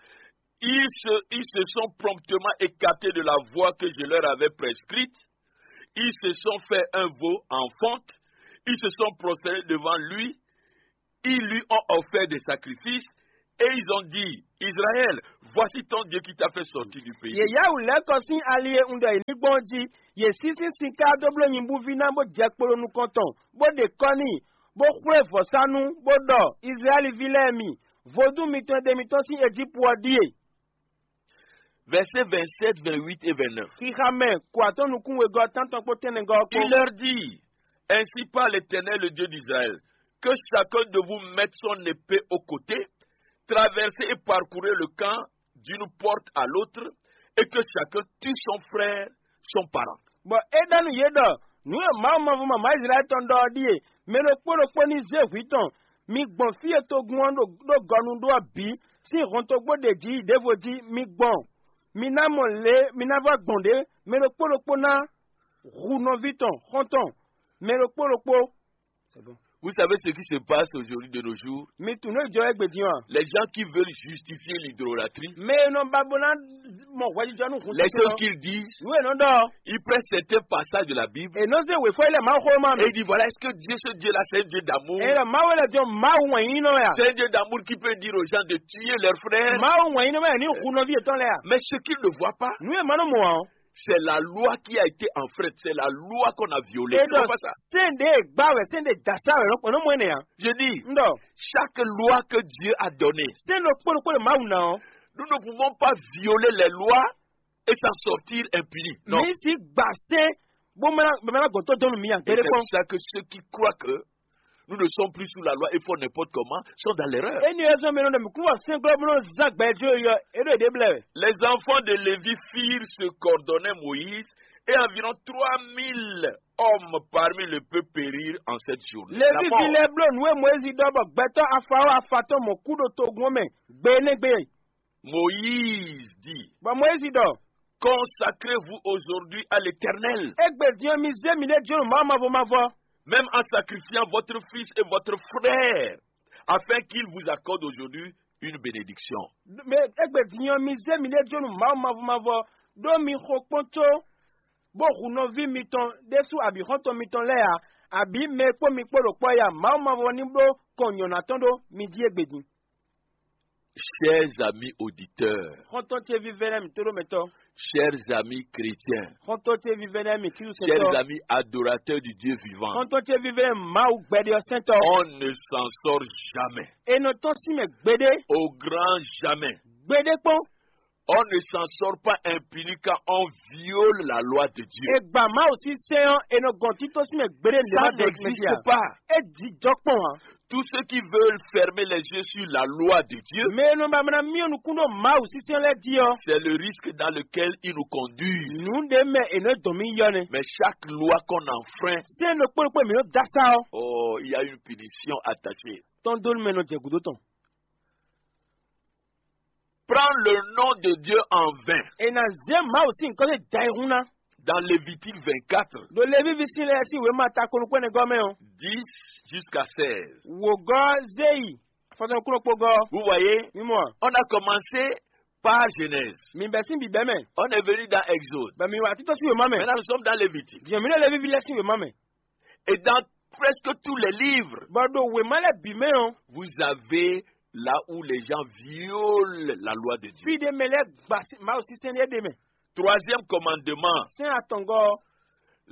Ils se, ils se sont promptement écartés de la voie que je leur avais prescrite. Ils se sont fait un veau en fonte. Ils se sont prosternés devant lui. Ils lui ont offert des sacrifices. Et ils ont dit, Israël, voici ton Dieu qui t'a fait sortir du pays. Yě yá wǔ lɛ́ kɔ sín ali e un ɖɔ yě ní gbɔn ɔ́ jí; yě sín sín sinká dó bló nyibúví ná, bó jɛ kpo ɖo nukɔn tɔn, bó ɖe kɔ́ n'i, bó xwlé vɔ̌sánú, bó ɖɔ: Izlayɛ́li ví lɛ́ɛ mi, vodún mitɔn e ɖe mi tɔ́n sín Ejípu ɔ́ ɖíe. Versets vingt-sept, vingt-huit et vingt-neuf. Xixa mɛ, kɔ atɔ́ nukún wegɔ́ tántɔn kpó tɛ́nnɛgɔ́ ɔ́ kpó. Il leur dit, ainsi parle l'Éternel, le Dieu d'Israël, que chacun de vous mette son épée au côté, traversez et parcourez le camp d'une porte à l'autre, et que chacun tue son frère, son parent. Bɔ é ɖɔ nú yě ɖɔ: Nǔ e Mawu mavɔ mamǎ Izlayɛ́li tɔn ɖɔ ɔ́ ɖíe: Mɛ ɖokpó ɖokpó ní zé hwǐ tɔn, mi gbɔn fí e togun ɔ́ ɖo ɖó gɔnu ɖó ɔ́ bǐ sín hɔntogbó ɖě jí yi ɖěvo jí; mi gbɔn, mi ná mɔ lě, mi ná vɔ́ gbɔn ɖě; mɛ ɖokpó ɖokpó ná hu nɔví tɔn xɔ́ntɔn, mɛ ɖokpó ɖokpó. Vous savez ce qui se passe aujourd'hui de nos jours? Mi tunwun nǔ e jɔ égbé din ɔ́ a? Les gens qui veulent justifier l'idolâtrie, Mɛ e nɔ ba bó ná mɔ hwɛjijɔ nú hun les choses qu'ils disent, nǔ e nɔ ɖɔ ɔ́, ils prennent certains passages de la Bible. È nɔ zé wěfɔ yi lɛ Mawuxówéma mɛ. Et ils disent, voilà, est-ce que Dieu, ce Dieu-là, c'est un Dieu d'amour? È ɖɔ Mawu lɛ jɔ Mawu wɛn nyí nɔ wɛ a? C'est un Dieu d'amour qui peut dire aux gens de tuer leurs frères. Mawu wɛn nyí nɔ wɛ ní hu nɔví yětɔn lɛ a? Mais ce qu'ils ne voient pas, Nǔ e ma nɔ mɔ ǎ ɔ́, c'est la loi qui a été enfreinte, c'est la loi qu'on a violée. È ɖɔ sɛ́n ɖě e gbá wɛ, sɛ́n ɖě dasá wɛ, è nɔ mɔ énɛ́ ǎ. Je dis, Un ɖɔ chaque loi que Dieu a donnée, sɛ́n ɖokpó ɖokpó ɖe Mawu ná ɔ́, nous ne pouvons pas violer les lois et s'en sortir impunis. Non. Mi si gba sɛ́n bó mɛ ná gbɔn tó dɔn nú mi ǎ. Et c'est pour ça que ceux qui croient que nous ne sommes plus sous la loi et font n'importe comment sont dans l'erreur. Énɛ́ ɔ́ zɔ́n mɛ nɔ ɖɔ mǐ kún wɔ sɛ́nglɔ́ bó nɔ zán gbɛjló yɔ é ɖo yě ɖě blɛ́ wɛ. Les enfants de Lévi firent se coordonner Moïse et environ trois mille hommes parmi le peuple périrent en cette journée. La Levívi mort. Lɛ́ɛ bló nǔ e Mɔyízi ɖɔ bɔ gbɛtɔ́ afa ó afa tɔn mɔ kú ɖo togun ɔ́ mɛ gbe énɛ́ gbe. Moïse dit, Bɔ Mɔyízi ɖɔ: Consacrez-vous aujourd'hui à l'Éternel, Égbé din ɔ́, mi zé miɖée jó nú Mawu mavɔ mavɔ, même en sacrifiant votre fils et votre frère, afin qu'il vous accorde aujourd'hui une bénédiction. Mɛ égbé din ɔ́, mi zé miɖée jó nú Mawu mavɔ mavɔ, ɖó mi xo kpɔ́n có bó hu nɔví mitɔn ɖésú abǐ xɔ́ntɔn mitɔn lɛ́ɛ ǎ, abǐ mɛ e kpó mi kpó ɖo kpɔ́ é ǎ. Mawu mavɔ ní bló kɔn nyɔ̌ná tɔn ɖó mi jí égbé din. Chers amis auditeurs, Xɔ́ntɔn ce vívɛ́ nɛ́ mǐ tóɖómɛtɔ́. Chers amis chrétiens, Xɔ́ntɔn ce vívɛ́ nɛ́ mǐ Klísu chers sɛntɔ́. Amis adorateurs du Dieu vivant, Xɔ́ntɔn ce vívɛ́ nɛ́ Mawu gbɛɖe ɔ́ sɛntɔ́. On ne s'en sort jamais. È nɔ tɔ́n sín mɛ gbeɖé. Au grand jamais. Gbeɖé kpɔ́n. On ne s'en sort pas impuni quand on viole la loi de Dieu. È gbà Mawu sín sɛ́n ɔ́, è nɔ gɔn tító sín mɛ gbeɖé. Ça n'existe pas. É jijɔ kpɔn ǎ. Tous ceux qui veulent fermer les yeux sur la loi de Dieu, Mɛ e nɔ ba mla myɔ nukún ɖo Mawu sín sɛ́n lɛ́ɛ jí ɔ́, c'est le risque dans lequel ils nous conduisent. Nǔ ɖé mɛ è nɔ dɔn mì yɔ nɛ́. Mais chaque loi qu'on enfreint, Sɛ́n ɖokpó ɖokpó mǐ nɔ dó asá ɔ́, oh, il y a une punition attachée. Tɔn dó nú mɛ nɔ jɛ gǔdo tɔn. Prends le nom de Dieu en vain. È nǎ zé Mawu sín nyǐkɔ dó jɛ ayihún ná. Dans Lévitique vingt-quatre, Ɖo Levívi sín lɛ́ɛ sín wěma ta konukúnɛgɔ́ mɛ ɔ́, dix jusqu'à seize. Wǒgɔ́ zé yi afɔtɔn kúnɖokpógɔ́. Vous voyez, Mi mɔ a? On a commencé par Genèse. Mi bɛ́ sín bǐbɛ́ mɛ. On est venu dans Exode. Bɔ mi wá títɔ́ sín wěma mɛ. Maintenant, nous sommes dans Lévitique. Diɛ mi ɖo Levívi lɛ́ɛ sín wěma mɛ. Et dans presque tous les livres, Bɔ ɖo wěma lɛ́ɛ bǐ mɛ ɔ́, vous avez là où les gens violent la loi de Dieu. Fí ɖé mɛ lɛ́ɛ gba sí- Mawu sísɛ́n ɖé ɖé mɛ. Troisième commandement, Sɛ́n atɔngɔ́ ɔ́,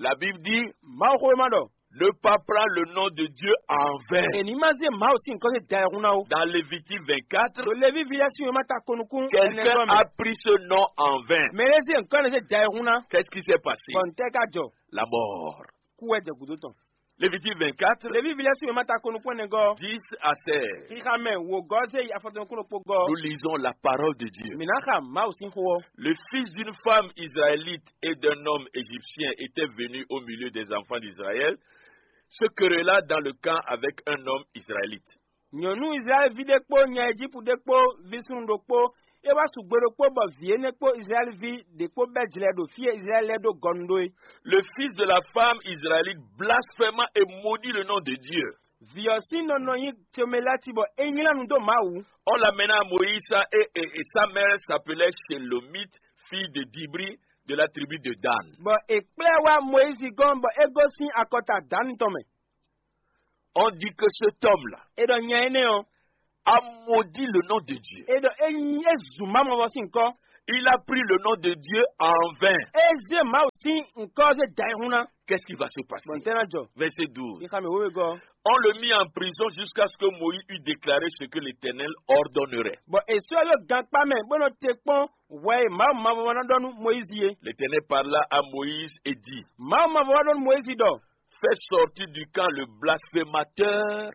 la Bible dit, Mawu xwé ma ɖɔ. Ne pas prendre le nom de Dieu en vain. È ní má zé Mawu sín nyǐkɔ dó da ayihún ná ó. Dans Lévitique vingt-quatre, Ɖo Levívi lɛ́ɛ sín wěma ta konukún quelqu'un a pris ce nom en vain. Mɛ ɖé zé nyǐkɔ ɖé zé da ayihún ná. Qu'est-ce qui s'est passé? Bɔ ntɛ́ ka jɔ? La mort. Kú wɛ jɛ gǔdo tɔn. Lévitique vingt-quatre, Levívi lɛ́ɛ sín wěma ta konukún ɛnɛgɔ́, dix à seize. Xixa mɛ wǒgɔ́ zé yi afɔtɔn kún ɖokpó gɔ́. Nous lisons la parole de Dieu. Mǐ ná xa Mawu sín xó ɔ́. Le fils d'une femme israélite et d'un homme égyptien était venu au milieu des enfants d'Israël, se querella dans le camp avec un homme israélite. Nyɔ̌nu Izlayɛ́li ví ɖé kpó nya Ejípu ɖé kpó ví súnnu ɖokpó, é wá su gbe ɖokpó bɔ vǐ énɛ́ kpó Izlayɛ́li ví ɖě kpó bɛ́ jlɛ ɖo fí e Izlayɛ́li lɛ́ɛ ɖó gɔnu ɖó é. Le fils de la femme israélite blasphéma et maudit le nom de Dieu. Vǐ ɔ́ sín nɔ nɔ nyí Tsomelati bɔ é nylá nu dó Mawu. On l'amena à Moïse et, et, et sa mère s'appelait Shelomith, fille de Dibri, de la tribu de Dan. Bɔ è kplá ɛ wá Mɔyízi gɔ́n bɔ é gosín akɔta Dani tɔn mɛ. On dit que cet homme-là, É ɖɔ nya énɛ́ ɔ́, a maudit le nom de Dieu. E ɖɔ e nyi e zun Mawu mavɔ sín ŋkɔ. Il a pris le nom de Dieu en vain. E zé Mawu sín ŋkɔ zé da e hun ná. Qu'est-ce qui va se passer? Bɔn tɛn na jɔ. Verset douze. Ixa mi wewe gɔ. On le mit en prison jusqu'à ce que Moïse eût déclaré ce que l'Éternel ordonnerait. Bɔn e sɔ yɔ gankpa mɛ bó nɔ te kpɔn wɛ e Mawu mavɔ ná ɖɔ nú Moyizi é. L'Éternel parla à Moïse et dit, Mawu mavɔ wá ɖɔ nú Moyizi ɖɔ, fais sortir du camp le blasphémateur.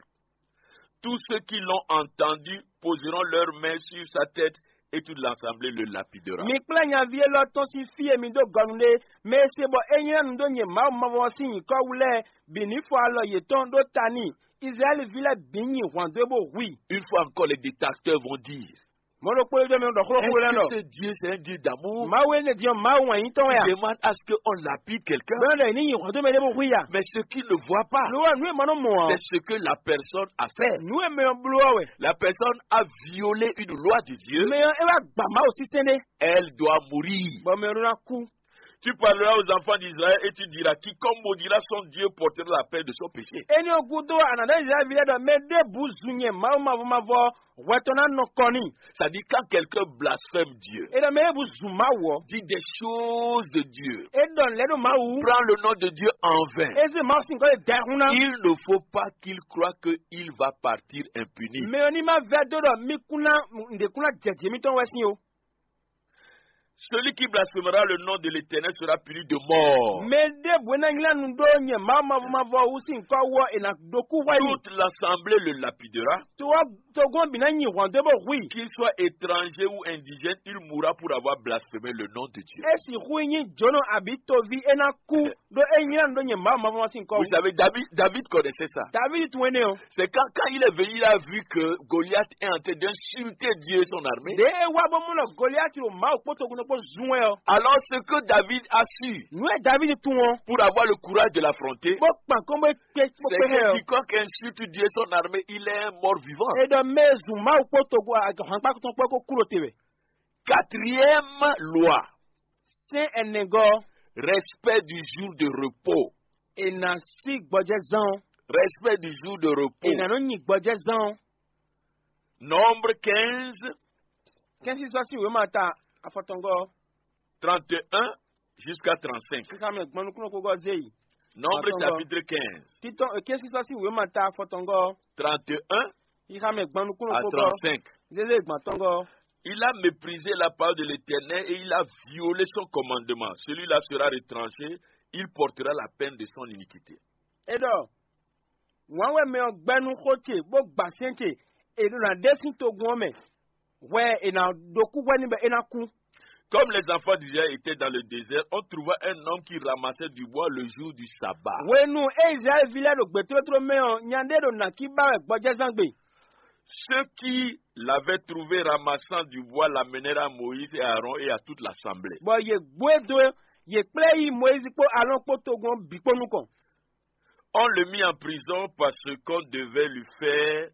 Tous ceux qui l'ont entendu poseront leurs mains sur sa tête et toute l'assemblée le lapidera. Mi kplá nyaví élɔ́ tɔn sín fí e mi dó gɔnu ɖe, mɛ e se bɔ é nylá nu dó nyɛ Mawu mavɔ sín nyǐkɔ wú lɛ́ɛ bǐ ní fɔ alɔ yětɔn ɖó ta n'i. Izlayɛ́li ví lɛ́ɛ bǐ nyi hwǎn dó e bó hu i. Une fois encore, les détracteurs vont dire, Mɔ̌ ɖokpó e jɔ mi ɖɔ xló xló lɛ́ɛ est-ce que ce Dieu, c'est un Dieu d'amour? Mawu énɛ́ din ɔ́, Mawu wɛn nyí tɔn wɛ a? Demande à ce qu'on lapide quelqu'un. Bɛn ɖɔ ní nyi hɔn tó mɛ ɖé bó hu ya. Mais ce qu'il ne voit pas, Lo wa nú e ma nɔ mɔ ɔ́. C'est ce que la personne a fait. Nú e mɛ ɔ́ bló ɔ́ wɛ. La personne a violé une loi de Dieu. Mɛ ɔ́ é wá gba Mawu sísɛ́n ɖé. Elle doit mourir. Bɔ mɛ ɔ́ ɖó ná kú. Tu parleras aux enfants d'Israël et tu diras, quiconque maudira son Dieu portera la peine de son péché. Éní ɔ́ gúdo ànàdá Izlayɛ́li ví lɛ́ɛ ɖɔ mɛ ɖěbǔ zun nyɛ Mawu mavɔ mavɔ hwɛ tɔn ná nɔ kɔ n'i. C'est-à-dire, quand quelqu'un blasphème Dieu, É ɖɔ mɛ ɖěbǔ zun Mawu ɔ́. Dit des choses de Dieu, É ɖɔ nǔ lɛ́ɛ ɖo Mawu. Prend le nom de Dieu en vain. É zé Mawu sín gɔ́ e da ɛ hún ná. Il ne faut pas qu'il croie qu'il va partir impuni. Mɛ ɔ́ ní má vɛ́ dó ɖɔ mí kún ná nǔɖé kún ná jɛ jǐ mitɔn wɛ sín o. Celui qui blasphémera le nom de l'Éternel sera puni de mort. Mɛ ɖěbǔ e ná nylá nu ɖó nyɛ Mawu mavɔ mavɔ wú sín kɔ́ wú ɔ́, è nǎ ɖó kú hwɛ n'i. Toute l'assemblée le lapidera. Togɔ́n bǐ ná nyi hwǎn dó bó hu i. Qu'il soit étranger ou indigène, il mourra pour avoir blasphémé le nom de Dieu. É sixú nyí jǒnɔ abǐ toví é ná kú ɖó é nylá nu ɖó nyɛ Mawu mavɔ mavɔ sín kɔ́ wú. Vous savez, David, David connaissait ça. David tunwun énɛ́ ɔ́. C'est quand, quand il est venu, il a vu que Goliath est en train d'insulter Dieu et son armée. Ɖě é wá bó mɔ ɖɔ Goliati ɖo Mawu kpó togun kpó zun wɛ ɔ́. Alors, ce que David a su, Nǔ e David tunwun ɔ́, pour avoir le courage de l'affronter, bó kpan kɔn bó kpé bó c'est kpé hɛ que ɔ́. Quiconque insulte Dieu et son armée, il est un mort vivant. É ɖɔ mɛ e zun Mawu kpó togun ahwankpá tɔn kpó kó kú ɖo te wɛ. Quatrième loi, Sɛ́n ɛnɛgɔ́, respect du jour de repos. È nǎ sí gbɔjɛzán ɔ́. Respect du jour de repos. È nǎ nɔ nyi gbɔjɛzán ɔ́. Nombre quinze, Kɛ́nsísɔ́ sín wěma ta afɔtɔngɔ́, trente et un jusqu'à trente-cinq. Xixamɛ gbɔn nukúnnú kpogɔ́ zé yi. Nombre Atɔngɔ́. Chapitre quinze, Títɔn kɛ́nsísɔ́ sín wěma ta afɔtɔngɔ́, trente et un xixamɛ gbɔn nukúnnú à kpogɔ́ trente-cinq. Zézé gbɔn atɔngɔ́. Il a méprisé la parole de l'Éternel et il a violé son commandement. Celui-là sera retranché, il portera la peine de son iniquité. É ɖɔ wǎn wɛ mɛ ɔ́ gbɛ́ nú xó ce bó gba sɛ́n ce, è nɔ ná ɖe sín togun ɔ́ mɛ, hwɛ è nǎ ɖó kú hwɛ n'i bɔ é ná kú. Comme les enfants d'Israël étaient dans le désert, on trouva un homme qui ramassait du bois le jour du sabbat. Hwenu e Izlayɛ́li ví lɛ́ɛ ɖo gbětótló mɛ ɔ́, nya ɖé ɖo nǎkí ba wɛ gbɔjɛzán gbe. Ceux qui l'avaient trouvé ramassant du bois l'amenèrent à Moïse et à Aaron et à toute l'assemblée. Bɔ yě gbó e dó, yě kplá ɛ yi Mɔyízi kpó Alɔ́ɔn kpó togun ɔ́ bǐ kpó nukɔn. On le mit en prison parce qu'on devait lui faire,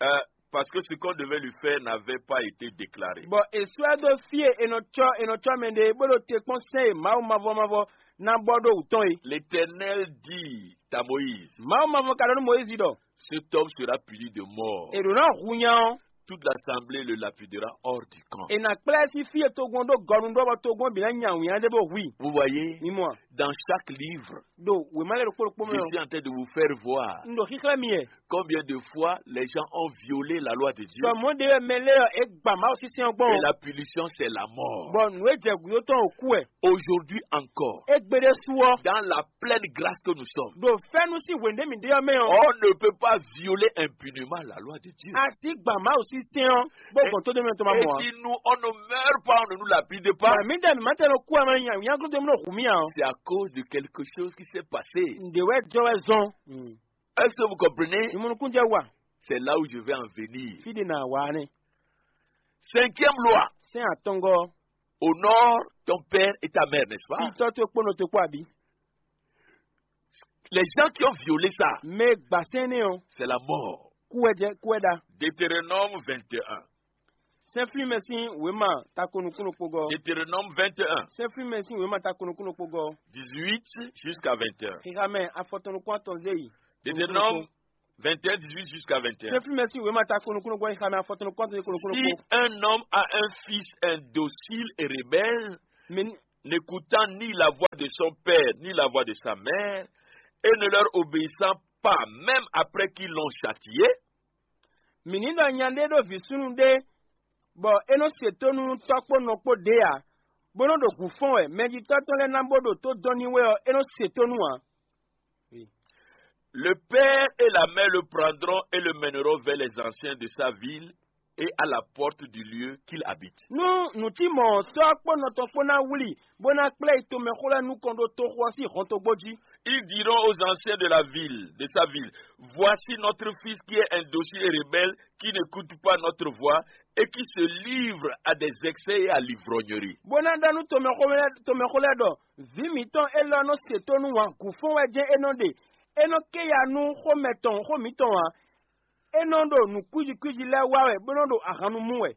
euh, parce que ce qu'on devait lui faire n'avait pas été déclaré. Bɔ è sɔ́ ɛ dó fí e è nɔ cɔ́ è nɔ cɔ́ mɛ ɖe bó ɖo te kpɔ́n sɛ́n e Mawu mavɔ mavɔ ná bɔ ɖó wǔ tɔn é. L'Éternel dit à Moïse, Mawu mavɔ ka ɖɔ nú Mɔyízi ɖɔ, cet homme sera puni de mort. È ɖǒ ná hu nya ɔ́. Toute l'assemblée le lapidera hors du camp. È nǎ kplá ɛ sín fí e togun ɔ́ ɖo gɔnu ɖó bɔ togun ɔ́ bǐ ná nya wǐnnya ɖé bó hu i. Vous voyez, mi mɔ a? Dans chaque livre, Ɖo wěma lɛ́ɛ ɖokpó ɖokpó mɛ je ɔ́, suis en train de vous faire voir un ɖo xíxlɛ́ mi wɛ. Combien de fois les gens ont violé la loi de Dieu. Sɔ mɔ̌ ɖe wɛ mɛ lɛ́ɛ ɔ́, é gba Mawu sísɛ́n ɔ́ gbɔn. Et la punition, c'est la mort. Bɔ nǔ e jɛ gǔdo tɔn ɔ́ kú wɛ. Aujourd'hui encore, Égbé ɖésú ɔ́, dans la pleine grâce que nous sommes, ɖo fɛ́nú sín hwěndé mǐ ɖe ɔ́ mɛ ɔ́, on ne peut pas violer impunément la loi de Dieu. A sǐ gba Mawu sísɛ́n ɔ́ bó gbɔn tó ɖé mɛ tɔn ma mɔ ǎ. Et si nous, on ne meurt pas, on ne nous lapide pas, Mɛ mǐ ɖe mǐ ma tɛ nɔ kú ɛ mɛ nya nyaglo ɖé mɔ hu mì ǎ ɔ́. C'est à cause de quelque chose qui s'est passé. Ǹdě wɛ jɔ wɛ zɔn. Est-ce que vous comprenez? Ìmúnukún jẹ́ wà. C'est là où je vais en venir. Fídí nà wà á nɛ. Cinquième loi. Sɛ́n àtɔngɔ́. Honore ton père et ta mère, n'est-ce pas? Fítɔ́ tó kpónɔ tó kpó àbí. Les gens qui ont violé ça, Mɛ gbà sɛ́n nɛ ɔ́, c'est la mort. Kú ɛ jɛ kú ɛ ɖa. Deutéronome vingt et un. Sɛ́n flín mɛ sín wěma tako nukúnnú kpogɔ́. Deutéronome vingt et un. Sɛ́n flín mɛ sín wěma tako nukúnnú kpogɔ́. Dix-huit jusqu'à vingt et un. Xixamɛ afɔtɔn nukún atɔn zé yi. Deutéronome Vingt et un, dix-huit jusqu'à vingt et un. Théophile, merci. Oui, ma ta kono kono quoi, il y a ma photo, kono kono. Si un homme a un fils indocile et rebelle, Mais n'écoutant ni la voix de son père, ni la voix de sa mère, et ne leur obéissant pas, même après qu'ils l'ont châtié, mini ɖɔ nya ɖé ɖo vǐ súnnu ɖé, bɔ é nɔ se tónú tɔ́ kpó nɔ kpó ɖě ǎ, bó nɔ ɖo gǔ fɔ́n wɛ, mɛjitɔ́ tɔn lɛ́ɛ ná bó ɖo tó dɔn n'i wɛ ɔ́, é nɔ se tónú ǎ. le père et la mère le prendront et le mèneront vers les anciens de sa ville et à la porte du lieu qu'il habite. Nú nǔ tí mɔ̌ sɔ́ kpó nɔ tɔn kpó ná wlí, bó ná kplá yi tomɛxó lɛ́ɛ nukɔn ɖó toxo ɔ́ sín hɔntogbó jí. Ils diront aux anciens de la ville, de sa ville, voici notre fils qui est indocile et rebelle, qui n'écoute pas notre voix et qui se livre à des excès et à l'ivrognerie. Bó ná ɖɔ nú tomɛxó lɛ́ɛ ɖɔ, vǐ mǐtɔn élɔ́ nɔ se tónú wǎn gǔ fɔ́n wɛ jɛ́n é nɔ ɖe, é nɔ ké ya nú xomɛ tɔn xó mǐtɔn ǎ. É nɔ ɖo nǔ kwíji kwíji lɛ́ɛ wa wɛ, bó nɔ ɖo ahan nu mú wɛ.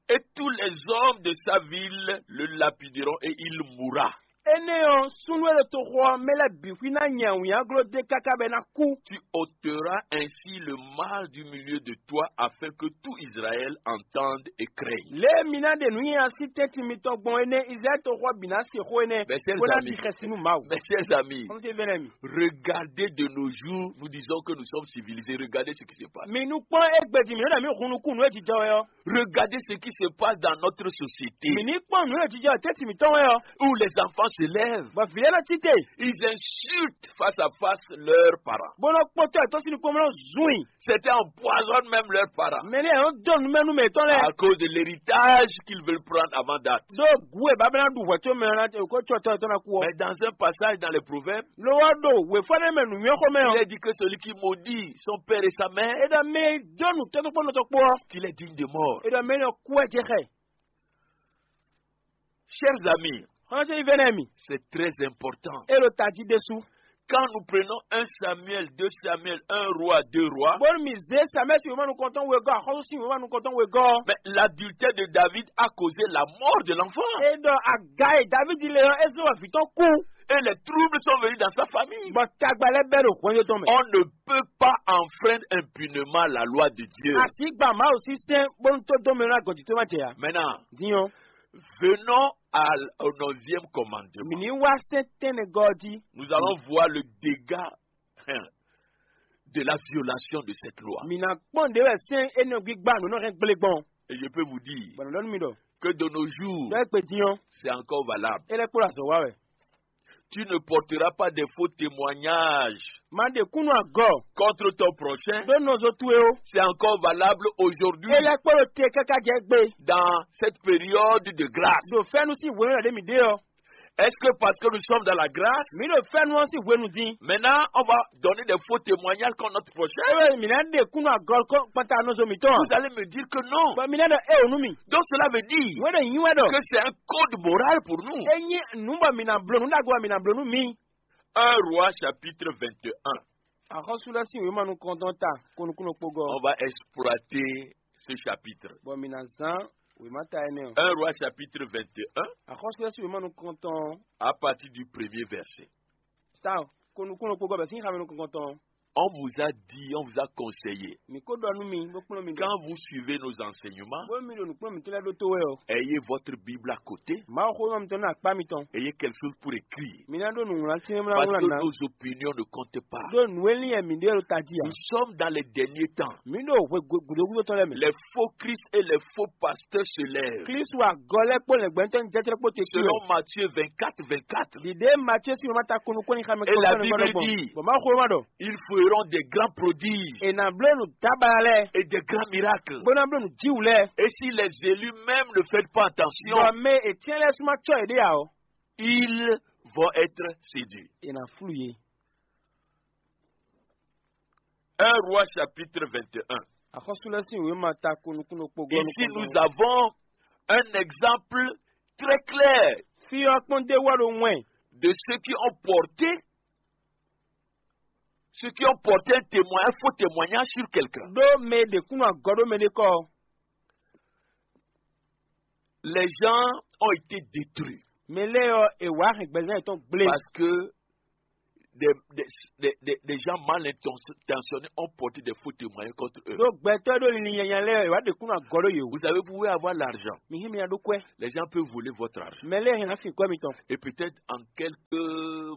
Et tous les hommes de sa ville le lapideront et il mourra. Énɛ́ ɔ́, súnnu e ɖo toxo ɔ́ mɛ lɛ́ɛ bǐ xwí ná nya wǐnyagló dó e káká bɔ é ná kú. Tu ôteras ainsi le mal du milieu de toi, afin que tout Israël entende et craigne. Lě e mi ná ɖe nǔnyinya sín tɛ́ntin mitɔn gbɔn énɛ́, Izlayɛ́li toxo ɔ́ bǐ ná se xó énɛ́, Mes chers bó ná amis, ɖi xɛsi nú Mawu. Mes chers amis, Kɔmsé vɛ́nɛ́ mi. Regardez de nos jours, nous disons que nous sommes civilisés. Regardez ce qui se passe. Mi nu kpɔ́n égbé din mǐ nɔ ɖɔ mǐ hun nukún nǔ e jijɔ wɛ ɔ́. Regardez ce qui se passe dans notre société, Mi ní kpɔ́n nǔ e jijɔ tɛ́ntin mǐtɔn wɛ ɔ́. Où les enfants se lèvent, Bɔ vǐ lɛ́ɛ nɔ títè, ils insultent face à face leurs parents. Bó nɔ kpɔ́tɔ́ ɛ tɔ́ sín nukɔn bó nɔ zun i. Certains empoisonnent même leurs parents. Mɛ ní ɛ nɔ dó numɛ nú mɛ tɔn lɛ́ɛ. À cause de l'héritage qu'ils veulent prendre avant date. Ɖó gu e baba ná ɖu hwɛ có mɛ ɔ́ ná ko có tɔ́ tɔn ná kú ɔ́. Mais dans un passage dans les Proverbes, Ló wá ɖo wěfɔ́nɛ́ mɛ nǔnywɛ́ xomɛ ɔ́. Il est dit que celui qui maudit son père et sa mère, É ɖɔ mɛ e dó nǔ tɔ́ kpó nɔ tɔn kpó ɔ́. Qu'il est digne de mort. É ɖɔ mɛ énɛ́ ɔ́ kú wɛ jɛ xá ɛ. Chers amis, Xɔ́ntɔn Ivenɛmi, c'est très important. É ɖo tají ɖésú. Quand nous prenons un Samuel, deux Samuel, un roi, deux rois, Bónú mì zé Samuɛ́li sín wěma nukɔntɔn wegɔ́, axɔ́sú sín wěma nukɔntɔn wegɔ́ ɔ́. Mais l'adultère de David a causé la mort de l'enfant. É ɖɔ aga e Davídi le ɔ́, é zɔ́n bɔ vǐ tɔn kú. Et les troubles sont venus dans sa famille. Bɔ tagba lɛ́ɛ bɛ́ ɖo hwɛndo tɔn mɛ. On ne peut pas enfreindre impunément la loi de Dieu. A sì gba Mawu sín sɛ́n bónú tó dɔn mɛ ná gɔ̌ jí tó má jɛ ǎ. Maintenant, Din ɔ́, venons à l- au onzième commandement. Mǐ ní wá sɛ́n tɛ́nnɛgɔ́ ɔ́ jí. Nous allons voir le dégât, hein, de la violation de cette loi. Mǐ ná kpɔ́n ɖě wɛ sɛ́n énɛ́ gbígbá nǔ nɔ hɛn gblé gbɔn. Et je peux vous dire Bɔn nǔ ɖɔ nú mi ɖɔ, que de nos jours, ɖɔ é gbe din ɔ́, c'est encore valable. É lɛ́ kpo ɖo azɔ̌ wa wɛ. Tu ne porteras pas des faux témoignages Má ɖe kúnnu agɔ contre ton prochain. Ɖó nɔzo towe ó. C'est encore valable aujourd'hui. É lɛ́ kpo ɖo te káká jɛ gbe. Dans cette période de grâce. Ɖo fɛ́nú sín hwenu e ɖě mǐ ɖe ɔ́. Est-ce que parce que nous sommes dans la grâce, Mǐ ɖo fɛ́nú ɔ́ sín hwenu din. Maintenant on va donner des faux témoignages contre notre prochain? Ewé mǐ ná ɖe kúnnu agɔ kpata nɔzo mǐtɔn. Vous allez me dire que non. Bɔ mi ná ɖɔ é ò nú mi. Donc cela veut dire Wɛn ɖo nyi wɛ ɖɔ. Que c'est un code moral pour nous. É nyí nǔ bɔ mǐ ná bló nǔ ɖagbe bɔ mǐ ná bló nú mi. Un roi chapitre vingt et un. Axɔ́sú lɛ́ɛ sín wěma nukɔntɔn ta kó nukúnnú kpogɔ. On va exploiter ce chapitre. Bɔ mǐ ná zán wěma ta énɛ́ ɔ́. Un roi chapitre vingt et un. Axɔ́sú lɛ́ɛ sín wěma nukɔntɔn. À partir du premier verset. Ta kó nukúnnú kpogɔ bɛ sín xamɛ nukɔntɔn. On vous a dit, on vous a conseillé. Mǐ ko ɖɔ nú mi, bó kplɔ́n mi ɖɔ. Quand vous suivez nos enseignements, Bó mi ɖo nǔkplɔ́n mǐtɔn lɛ́ɛ ɖótó wɛ ɔ́. Ayez votre Bible à côté. Mawu xó ma mitɔn ɖo akpá mitɔn. Ayez quelque chose pour écrire. Mi ná ɖó nǔwlán sɛ́n wlán Parce wlán que ná. Nos opinions ne comptent pas. Ɖó nǔ e lin wɛ mǐ ɖe ɖo tají ǎ. Nous sommes dans les derniers temps. Mǐ ɖo hwe gǔdo gúdo tɔn lɛ́ɛ mɛ. Les faux Christ et les faux pasteurs se lèvent. Klísu agɔ lɛ́ɛ kpó lɛ̌ngbɛ́ntɔ́ jɛ́jɛ́ kpó te kí wɛ. Selon Matthieu vingt-quatre, vingt-quatre. Ɖiɖe Matíe sín wěma ta kunu kɔ́ nyi xamɛ Et la Bible dit, Bɔ Mawu xó ma ɖɔ. Ils feront des grands prodiges. È nǎ bló nǔ dábala lɛ́ɛ. Et des grands miracles. Bó ná bló nǔ jíwǔ lɛ́ɛ. Et si les élus même ne font pas attention, Bɔ mɛ ècyɛ́n lɛ́ɛ súnmọ́ cɔ́ yěɖée ǎ ɔ́. Ils vont être séduits. È nǎ flú yě. Un roi chapitre vingt et un. Axɔ́sú lɛ́ɛ sín wěma ta ko nukúnnú kpogɔ́ Ici nous avons un exemple très clair Fí ɔ́ kpɔ́n d'é wɔ ɖo wɛn. De ceux qui ont porté, ceux qui ont porté un témoin, un faux témoignage sur quelqu'un. Ɖó mɛ e ɖe kúnnú agɔ ɖó mɛɖé kɔ ɔ́. Les gens ont été détruits. Mɛ lɛ́ɛ ɔ́, è wǎ hɛn gbɛzán yětɔn gblé. Parce que des, des, des, des, des gens mal intentionnés ont porté des faux témoignages contre eux. Ɖó gbɛtɔ́ ɖó linlin nyanya lɛ́ɛ wá ɖe kúnnu agɔ ɖó yě wú. Vous savez, vous pouvez avoir l'argent. Mi hɛn mi nya ɖó kwɛ́. Les gens peuvent voler votre argent. Mɛ lɛ́ɛ hɛn ná fin kwɛ́ mitɔn. Et peut-être en quelques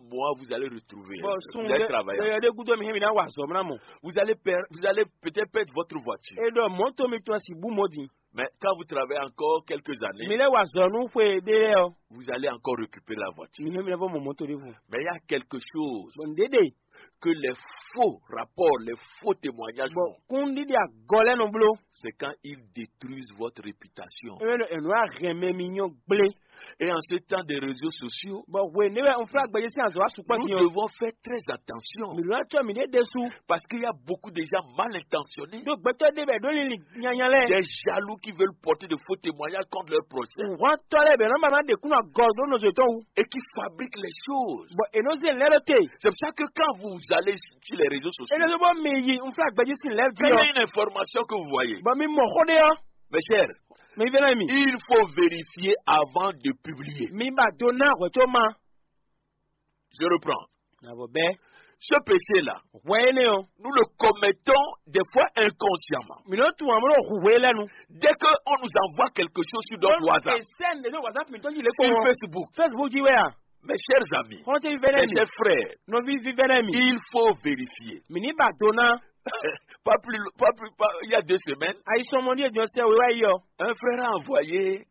mois, vous allez retrouver. Bɔn sun Vous allez travailler. Ɖe ɖe gúdo mi hɛn mi ná wa azɔ̌ mlá mɔ. Vous allez per-, vous allez peut-être perdre votre voiture. E ɖɔ mɔ̌to mitɔn si bú mɔ din. Mais quand vous travaillez encore quelques années, Mi lɛ́ wa azɔ̌ nú xwe ɖé lɛ́ɛ ɔ́, vous allez encore récupérer la voiture. Mi hɛn mi ná vɔ mɔ mɔ̌to ɖěvo. Mais il y a quelque chose Bɔn nǔɖé ɖe. Que les faux rapports, les faux témoignages Bɔn font. Kúnɖíɖí agɔ lɛ́ɛ nɔ bló. C'est quand ils détruisent votre réputation. Ewé nɔ ɛnú ahɛn mɛ mi nyɔ́ gblé. Et en ce temps des réseaux sociaux, Bɔn hwe ní wɛ un flá gbɛjɛ sín azɔ̌ asukpɔ Nous din ɔ́. Devons faire très attention. Mi lɔ tsɔ mi ɖé ɖésú. Parce qu'il y a beaucoup de gens mal intentionnés. Ɖó gbɛtɔ́ ɖé bɛ ɖó lili nyanya lɛ́ɛ. Des jaloux qui veulent porter de faux témoignages contre leur prochain. Hɔntɔ́ lɛ́ɛ bɛ nɔ ba ná ɖe kúnɔ agɔ ɖó nɔzɔ tɔn wú. Et qui fabriquent les choses. Bɔn è nɔ zé lɛ́ ɖó te. C'est pour ça que quand vous allez sur les réseaux sociaux, È nɔ zé bɔ mi yi un flá gbɛjɛ sín lɛ́ ví quand il y ɔ. A une information que vous voyez, Bɔn mi mɔ xó ɖé ɔ́. Mes chers, Mi vɛ́ ná mi. Il faut vérifier avant de publier. Mi ba do ná hwɛ̌ tó ma. Je reprends. Nabɔ bɛ́. Ce péché-là, Hwɛ énɛ́ ɔ́. Nous le commettons des fois inconsciemment. Mi nɔ tún amúnɔ hu hwe lɛ́nu. Dès que on nous envoie quelque chose sur notre WhatsApp, Sɛn de whatsapp mi tɔn yi lé sur kpɔn. Facebook, Facebook ji wɛ a. Mes chers amis, Kɔn tɛ vɛ́ mes ná mi. Chers frères, Nɔvi vívɛ́ ná mi. Il faut vérifier. Mi ní ba do ná. Pas plus, pas plus, pas, il y a deux semaines, Ayi sɔmɔ ní èdè ɔsɛ wíwá yi ɔ. Un frère a envoyé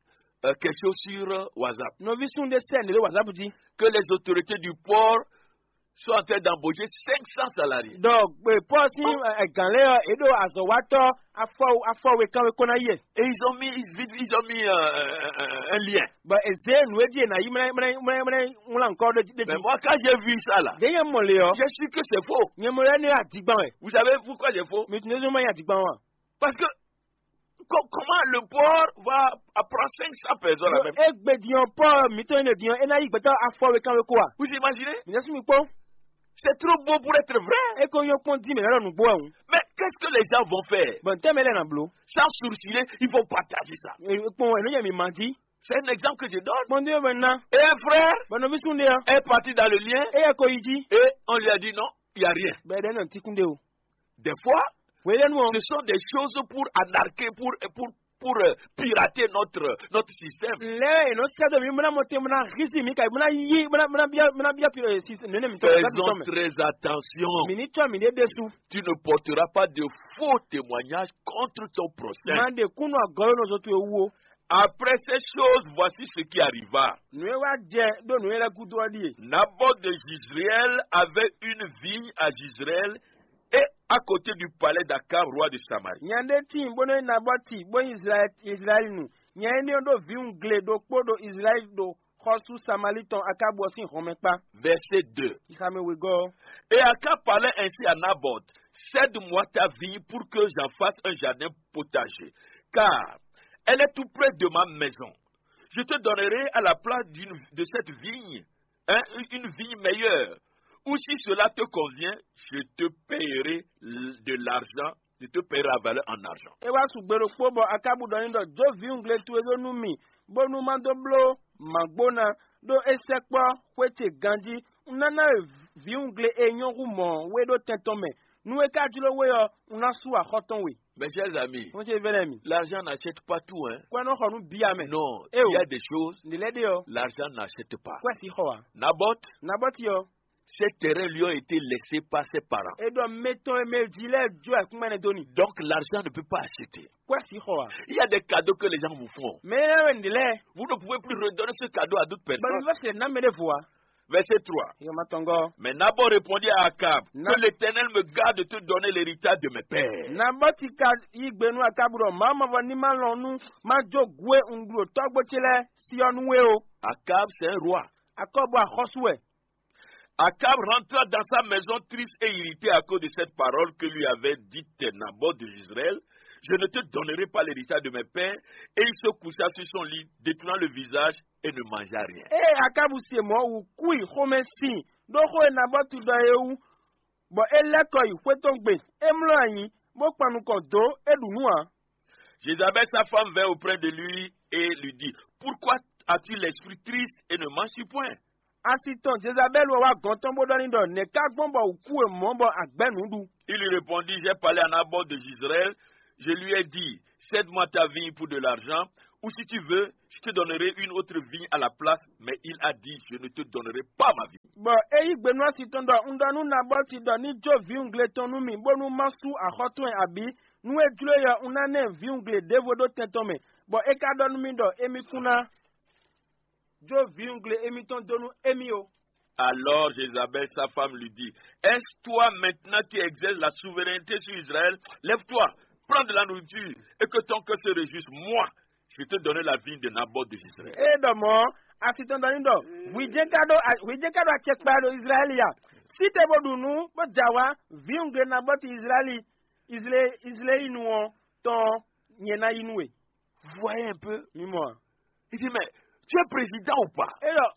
euh, quelque chose sur euh, WhatsApp. Nɔvi sun ɖé sɛn ɖé whatsapp ji. Que les autorités du port sont en train d'embaucher cinq cents salariés. Donc, pé pɔ sín gǎn lé ɔ, é ɖo azɔ̌watɔ́ afɔ afɔwe kanwe kó ná yɛ. Et ils ont mis, ils, ils ont mis euh, un, un- un lien. Bɔn èzé nǔ é jí è nǎ yí mlá mlá mlá mlá ŋlá nukɔ ɖé jí. Mais moi, quand j'ai vu ça là, Ɖé nyɛ mɔ le ɔ. J'ai su que c'est faux. Nyɛ mɔ lɛ ní adigban wɛ. Vous savez pourquoi c'est faux? Mi tún ní zɔn ma yɛ adigban wa. Parce que co- comment le port va apprendre cinq cents personnes la même? Egbe diɔn pɔ mitɔn ne diɔn ena yi gbɛtɔ afɔ we kan we kó a. Vous imaginez? Mi nɛ sún mi kpɔn. C'est trop beau pour être vrai. E ko yɔ kpɔn di mɛ lɔ nugbo ahun. Mais qu'est-ce que les gens vont faire? Bon, tɛmɛ lɛ na blo. Sans sourciller, ils vont partager ça. Kpɔn enu yɛ mi ma di. C'est un exemple que je donne. Kpɔn di yɛ bɛ na. Et un frère Bɔn nɔvi sun de ya. Est parti dans le lien E yɛ ko yi di. Et on lui a dit non, il n'y a rien. Bɛ dɛ nɔ tikun de o. Des fois, Wele nu o. Ce sont des choses pour anarquer, pour, pour, pour euh, pirater notre, notre système. Lɛ eno sɛ do mi muna mo te muna hisi mi ka muna yi muna muna bia muna bia pi si nene mi tɔ mi Faisons tɔ mi. Très attention. Mi ni tɔ mi de desu. Tu ne porteras pas de faux témoignages contre ton prochain. Ma de kunu agɔlo no so tu ewu o. Après ces choses, voici ce qui arriva. Nu e wa jɛ do nu e lɛ gudu ɔ die. Naboth de Jezreel avait une vigne à Jezreel et à côté du palais d'Akab, roi de Samarie. Nya ɖe tíin bó nɔ nyi Nabɔti bó nyi Israɛl Israɛl nu. Nya énɛ́ ɔ́ ɖó vǐwungle ɖokpó ɖo Israɛl ɖo xɔ́sú Samalí tɔn Akábu ɔ́ sín hɔnmɛ kpá. Verset deux. Xixamɛ wegɔ́ ɔ́. Et Akab parlait ainsi à Naboth, cède-moi ta vigne pour que j'en fasse un jardin potager, car elle est tout près de ma maison. Je te donnerai à la place d'une- de cette vigne hein, une vigne meilleure. Ou si cela te convient, je te payerai de l'argent, je te payerai la valeur en argent. E wá sùgbé ɖokpó bɔ Akábu ɖɔ n'i ɖɔ jó vǐwungle towe ɖó nú mì, bónú má dó bló mǎgbóna, ɖó é sɛkpɔ́ xwé ce ganjí. Un ná ná we vǐwungle e nyɔ́ hú mɔ̌ we ɖó tɛn tɔn mɛ. Nú é ka jló we ɔ́, un ná sú axɔ́ tɔn we. Mes chers amis, Xɔ́ntse vɛ́nɛ mi. L'argent n'achète pas tout, hein. Kwɛ nɔ xɔ nú bia mɛ. Non, Eh, il y a oh. Des choses, Ǹdí lɛ́ ɖe ɔ́. L'argent n'achète pas. Kwɛ si xɔ wa. Naboth, Nabɔti ɔ́. Ces terrains lui ont été laissés par ses parents. E ɖɔ mɛ tɔn e mɛ jí lɛ jó ɛ kúnmɛ ne dó ni. Donc l'argent ne peut pas acheter. Kwɛ si xɔ wa. Il y a des cadeaux que les gens vous font. Mɛ yɛ wɛ ǹdí lɛ. Vous ne pouvez plus redonner ce cadeau à d'autres personnes. Bɔn mi bɛ se na mɛ ɖe vo wa. Verset trois. Yɔ ma tɔngɔ. Mais Naboth répondit à Akab, Na- Que l'Éternel me garde de te donner l'héritage de mes pères. Nabɔti ka yi gbe nú Akabu ɖɔ mǎ ma vɔ ní má lɔn nú má jó gǔ e un ɖu ɖo tɔ́gbó ce lɛ́ɛ si ɔ́ nú we o. Akab, c'est un roi. Akɔbu axɔ́sú wɛ. Akab rentra dans sa maison triste et irrité à cause de cette parole que lui avait dite Naboth de Israël, je ne te donnerai pas l'héritage de mes pères. Et il se coucha sur son lit, détournant le visage et ne mangea rien. Ée Akabu se mɔ̌ wǔ kú yi xomɛ sín ɖó xó e Nabɔtu ɖɔ é wú, bɔ é lɛ́ kɔ yi xwé tɔn gbe, é mlɔ́ ayǐ, bó kpan nukɔn dó, é ɖu nǔ ǎ. Jézabel, sa femme, vint auprès de lui et lui dit, pourquoi as-tu l'esprit triste et ne manges-tu point? Asi tɔn Jezabɛ́li wɛ wá gɔ̌n tɔn bó ɖɔ n'i ɖɔ: Nɛ̌ ka gbɔn bɔ wǔ kú we mɔ̌ bɔ a gbɛ̌ nǔ ɖu? Il lui répondit: J'ai parlé à Naboth de Jezreel, je lui ai dit: Cède-moi ta vigne pour de l'argent, ou si tu veux, je te donnerai une autre vigne à la place, mais il a dit: Je ne te donnerai pas ma vigne. Bɔ é yí gbe nú asi tɔn ɖɔ: Un ɖɔ nú Nabɔti ɖɔ ní jó vǐwungle tɔn nú mì, bónú má sú axɔ́ towe abǐ? Nú é jló é ɔ́, un ná ná ɛ vǐwungle ɖěvo ɖó tɛn tɔn mɛ, bɔ é ka ɖɔ nú mì ɖɔ émí kún ná jó vǐwungle émítɔn dó nú émí ó. Alors Jézabel, sa femme, lui dit: Est-ce toi maintenant qui exerces la souveraineté sur Israël? Lève-toi, prends de la nourriture et que ton cœur se réjouisse. Moi, je te donne la vigne de Naboth de Israël. É ɖɔ mɔ̌, asi tɔn ɖɔ n'i ɖɔ: Hwi jɛ́n ka ɖó hwi jɛ́n ka ɖó acɛkpa ɖo Izlayɛ́li a? Sí te bó ɖu nǔ, bó jɛ awǎ, vǐwungle Nabɔti Izlayɛ́li, Izlé- Izléinu ɔ́ tɔn ɔ́, nyɛ ná yí nú we. Vous voyez un peu? Mi mɔ a? Il dit: Mais tu es président ou pas? É ɖɔ: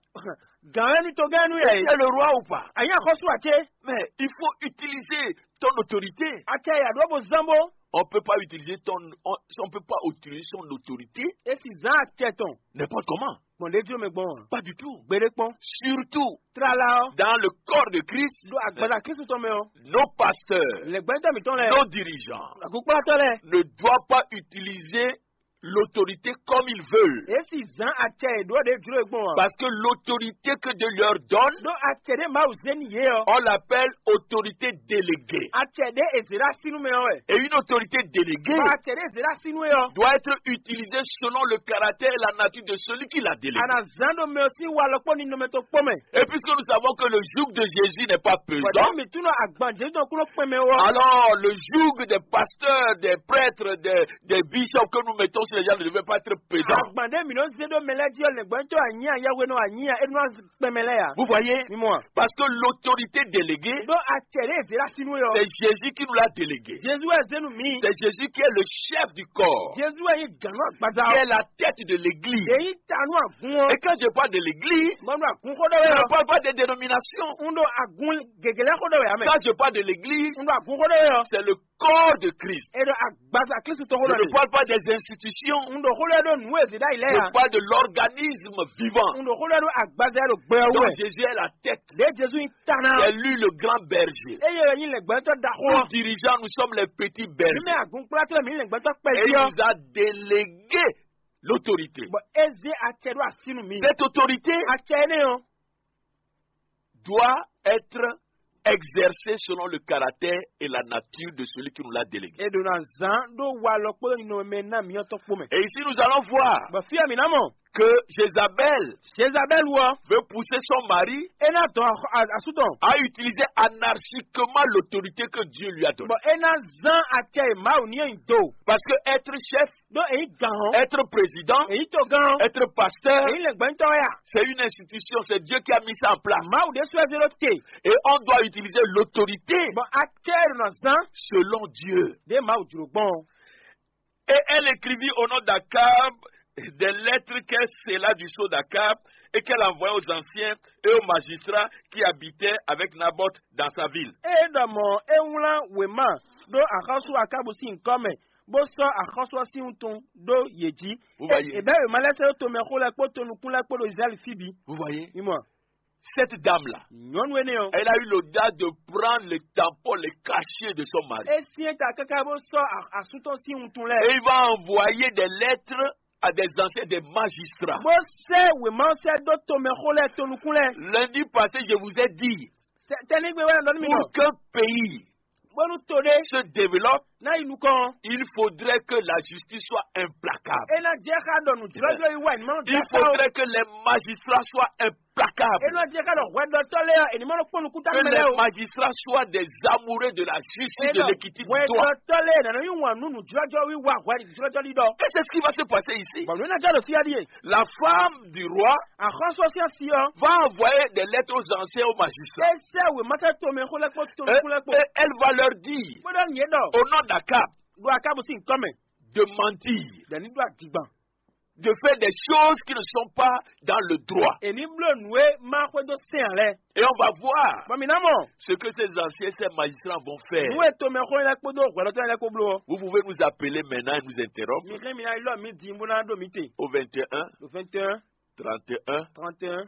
Gǎn wɛ ní togán nú Tu yɛ es le roi ou pas? A nyí axɔ́sú a cé? Mais il faut utiliser ton autorité. Acɛ ya ɖó bó zán bó. On peut pas utiliser ton, on, on peut pas utiliser son autorité. É si zán acɛ tɔn. N'importe comment. Gbɔn ɖé jló mɛ gbɔn a? Pas du tout. Gbeɖé kpɔn. Surtout Tlala ɔ́, dans le corps de Christ, ɖo agbaza Kristu tɔn mɛ ɔ́, nos pasteurs, lɛgbɛ́tɔ́ mǐtɔn lɛ́ɛ, nos dirigeants agunplátɔ́ lɛ́ɛ, ne doivent pas utiliser l'autorité comme ils veulent. É si zán acɛ e ɖó ɖě jló e gbɔn a? Parce que l'autorité que Dieu leur donne, Ɖó acɛ ɖé Mawu zé n'i yě ɔ́, On l'appelle autorité déléguée. Acɛ ɖé e zě ɖó así nú mɛ ɔ́ wɛ. Et une autorité déléguée Bɔ acɛ ɖé e zě ɖó así nú é ɔ́, Doit être utilisée selon le caractère et la nature de celui qui l'a déléguée. A nǎ zán ɖo mɛ ɔ́ sín walɔ kpó ninɔmɛ tɔn kpó mɛ. Et puisque nous savons que le joug de Jésus n'est pas pesant, Bɔdɛ́ mǐ tún nɔ agban Jezu tɔn kún nɔ kpɛn mɛ ó. Alors le joug des pasteurs, des prêtres, des, des bishops que nous mettons sur les gens ne devait pas être pesant. Agban ɖé mǐ nɔ zé ɖó mɛ lɛ́ɛ jí ɔ́, lɛ̌ngbɔ́nyitɔ́ anyí a, yɛhwenɔ anyí a, é nɔ kpɛn mɛ lɛ́ɛ a? Vous voyez? Mi mɔ a? Parce que l'autorité déléguée, Ɖó acɛ ɖé e zě ɖó así nú é ɔ́, C'est Jésus qui nous l'a déléguée. Jezu wɛ zé nú mǐ. C'est Jésus qui est le chef du corps. Jezu wɛ nyí gǎn nú agbaza Qui ɔ́. Est la tête de l'église. Èyí ta nú àgún ɔ́. Et quand je parle de l'église, Mo nú àgún xó ɖé wɛ Je ne ɔ́. Parle pas des dénominations. Un ɖo àgún gěgé lɛ́ɛ xó ɖé wɛ ame. Quand je parle de l'église, Un ɖo àgún xó ɖé wɛ ɔ́. C'est le corps de Christ. E ɖo agbaza Kristu tɔn xó Je ɖé ne wɛ. Parle pas des institutions. Un ɖo xó ɖé ɖo nǔ e zě ɖ'ayǐ lɛ́ɛ Je ya. Parle de l'organisme vivant. Un ɖo xó ɖé ɖo agbaza e ɖo gbɛ ɔ́ Donc wɛ. Jésus est la tête. Ɖě Jezu nyí ta ná. C'est lui le grand berger. Eye wɛ nyí lɛ̌ngbɛ́tɔ́ ɖaxó Nous ɔ́. Dirigeants, nous sommes les petits Mǐ bergers. Mɛ àgúnkplátɔ́ mǐ lɛ̌ngbɛ́tɔ́ kpɛví Et il ɔ́. Nous a délégué l'autorité. Bɔ é zé acɛ ɖó así nú mǐ. Cette autorité Acɛ énɛ́ ɔ́. Doit être exercée selon le caractère et la nature de celui qui nous l'a délégué. E ɖo ná zán ɖó walɔ kpódó ninɔmɛ ná mǐtɔn kpó mɛ. Et ici nous allons voir Bɔ fí ɔ́ mǐ ná mɔ. Que Jézabel Jezabɛ́lu ɔ́, Veut pousser son mari é ná dɔn axɔ- a- asú tɔn. À utiliser anarchiquement l'autorité que Dieu lui a donnée. Bɔ é ná zán acɛ e Mawu ní ɔ́ nyi do. Parce que être chef, Ɖó èyí gǎn ɔ́, être président, èyí togán ɔ́, Être pasteur, èyí lɛ̌ngbɛ́ntɔ́ wɛ a? C'est une institution, c'est Dieu qui a mis ça en place. Mawu ɖésú wɛ zé ɖó te. Et on doit utiliser l'autorité Bɔ acɛ e ɖo ná zán Selon Dieu. Ɖě Mawu jlǒ gbɔn ɔ́. Et elle écrivit au nom d'Akab des lettres qu'elle scella du sceau d'Akab et qu'elle envoya aux anciens et aux magistrats qui habitaient avec Naboth dans sa ville. Ée ɖɔ mɔ̌ é wlán wěma ɖó axɔ́sú Akábu sín nyǐkɔ mɛ, bó sɔ́ axɔ́sú ɔ́ sín wuntun ɖó yě jí. Vous voyez? È bɛ́ wěma lɛ́ɛ sɛ́ ɖó tomɛxó lɛ́ɛ kpó tonukún lɛ́ɛ kpó ɖo Izlayɛ́li fí bǐ. Vous voyez? Mi mɔ, Cette dame-là, nyɔ̌nu énɛ́ ɔ́, Elle a eu l'audace de prendre les tampons, les cachets de son mari. É syɛ́n ta káká bó sɔ́ a- asú tɔn sín wuntun lɛ́ɛ. Et il va envoyer des lettres à des anciens, des magistrats. Bó sɛ́ wěma ɔ́ sɛ́ dó tomɛxó lɛ́ɛ, tonukún lɛ́ɛ. Lundi passé, je vous ai dit, Tɛ́nɛ́gbe wɛ ɖɔ nú mi ɖɔ, Pour qu'un pays bónú to ɖé se développe, ná yi nukɔn, il faudrait que la justice soit implacable. É ná jẹ́ xá ɖɔ nǔjlɔ́jlɔ́ yi wɛ ní ma Il faudrait que les magistrats soient implacables. É ná jẹ́ xá ɖɔ hwɛɖɔtɔ́ lɛ́ɛ ɔ́, è ní ma nɔ kpɔ́n nukúnta Que mɛ les lɛ́ɛ o. Magistrats soient des amoureux de la justice, de l'équité, du droit. Hwɛɖɔtɔ́ lɛ́ɛ nǎ nɔ yí wǎn nú nǔjlɔ́jlɔ́ wiwa hwɛɖɔtɔ́ lɛ́ɛ ɖɔ. Et c'est ce qui va se passer ici. Bɔn nǔ ná jɔ ɖo fí ɔ́ ɖíe. La femme du roi, axɔ́sú ɔ́ sín asi ɔ́, va envoyer des lettres aux anciens, aux magistrats. É sɛ́ wěma sɛ́ tomɛxó lɛ́ɛ kpó, tonukún lɛ́ɛ kpó. Et elle va leur dire, Bó ɖɔ nǔ yě ɖɔ, au nom d'Akab, ɖo Akábu sín nyǐkɔ mɛ, de mentir. Ɖɔ ní ɖó adǐgban. De faire des choses qui ne sont pas dans le droit. È ní bló nǔ e ma xwedó sɛn ǎ lɛ́ɛ. Et on va voir Bɔ mǐ ná mɔ ce que ces anciens, ces magistrats vont faire. Nǔ e tomɛxó lɛ́ɛ kpódó hwɛɖɔtɔ́ lɛ́ɛ kpó bló ɔ́. Vous pouvez nous appeler maintenant et nous interrompre. Mi xlɛ́ mi ná ylɔ́ mǐ din bó ná ɖo mǐ te. Au vingt et un, Ɖo vingt et un, trente et un, trente et un,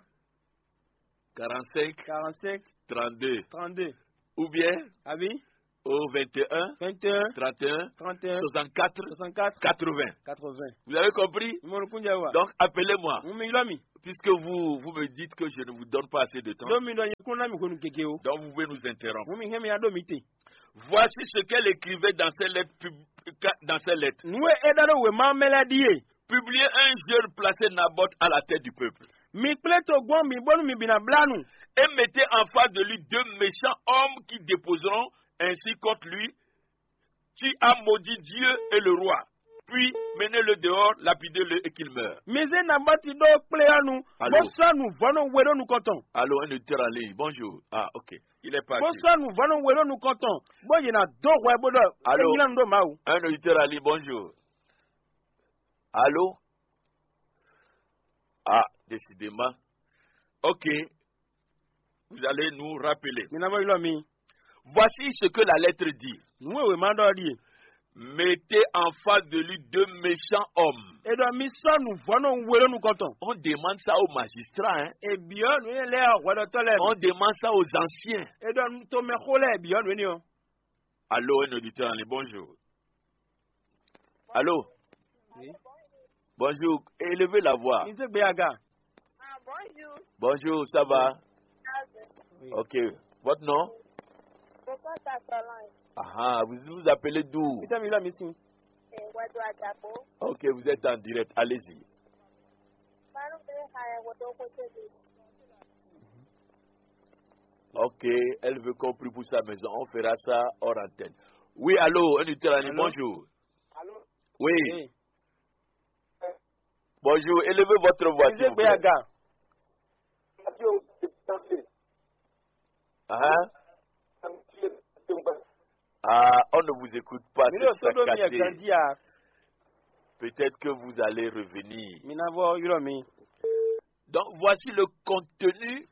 quarante-cinq, quarante-cinq, trente-deux, trente-deux, ou bien, ah oui, au vingt et un, vingt et un, trente et un, trente et un, soixante-quatre, soixante-quatre, quatre-vingts. Quatre-vingts. Vous avez compris? Mo ɖo kúnjɛ wa. Donc, appelez-moi. Mo mi ylɔ́ mi. Puisque vous, vous me dites que je ne vous donne pas assez de temps. Ɖó mi ɖɔ nyɛ kún ná mi hwenu gege o. Donc, vous pouvez nous interrompre. Mo mi hɛn mi ya ɖo mi te. Voici ce qu'elle écrivait dans ses lettres pub-, dans ses lettres. Nǔ e é ɖɔ ɖo wěma ɔ́ mɛ lɛ́ɛ ɖíe. Publiez un jeune, placez Naboth à la tête du peuple. Mi kplé togbɔn mi bónú mi bǐ ná blá nu. Et mettez en face de lui deux méchants hommes qui déposeront ainsi contre lui: Tu as maudit Dieu et le roi, puis menez-le dehors, lapidez-le et qu'il meure. Mi zé Nabɔti ɖó kplé ɔ́ nu, bó sɔ́ nǔvɔ́ nú we ɖó nukɔn tɔn. Allô, un auditeur en ligne. Bonjour. Ah, ok. Il est parti. Bó sɔ́ nǔvɔ́ nú we ɖó nukɔn tɔn, bó yě ná dó hwɛ bó ɖɔ é nylá nu ɖó Mawu. Un auditeur en ligne, bonjour. Allô? Ah, décidément. Ok. Vous allez nous rappeler. Mi ná vɔ ylɔ́ mi. Voici ce que la lettre dit. Nǔ e wěma ɖɔ ɔ́ ɖíe. Mettez en face de lui deux méchants hommes. É ɖɔ mi sɔ́ nǔvɔ́ nú we ɖó nukɔn tɔn. On demande ça aux magistrats, hein. É byɔ́ nǔ énɛ́ lɛ́ɛ hwɛɖɔtɔ́ lɛ́ɛ. On demande ça aux anciens. É ɖɔ tomɛxó lɛ́ɛ byɔ́ nǔ énɛ́ ɔ́. Allô, un auditeur en ligne, bonjour. Allô? Oui. Bonjour, élevez la voix. Mi zé gbé aga. Ah, bonjour. Bonjour, ça va? Oui. Ok. Votre nom? Pourquoi t'as Solange? Ah, vous vous appelez d'où? Ita mi la mi sin. Eh, Wado Adabo. Ok, vous êtes en direct. Allez-y. Malu bɛ ha ya Wado ko te de. Ok, elle veut qu'on prie pour sa maison. On fera ça hors antenne. Oui, allô, un auditeur en ligne, bonjour. Allô? Oui. Oui. Bonjour, élevez votre voix, s'il vous plaît. Hein? Ah, on ne vous écoute pas, c'est saccadé. Peut-être que vous allez revenir. Donc, voici le contenu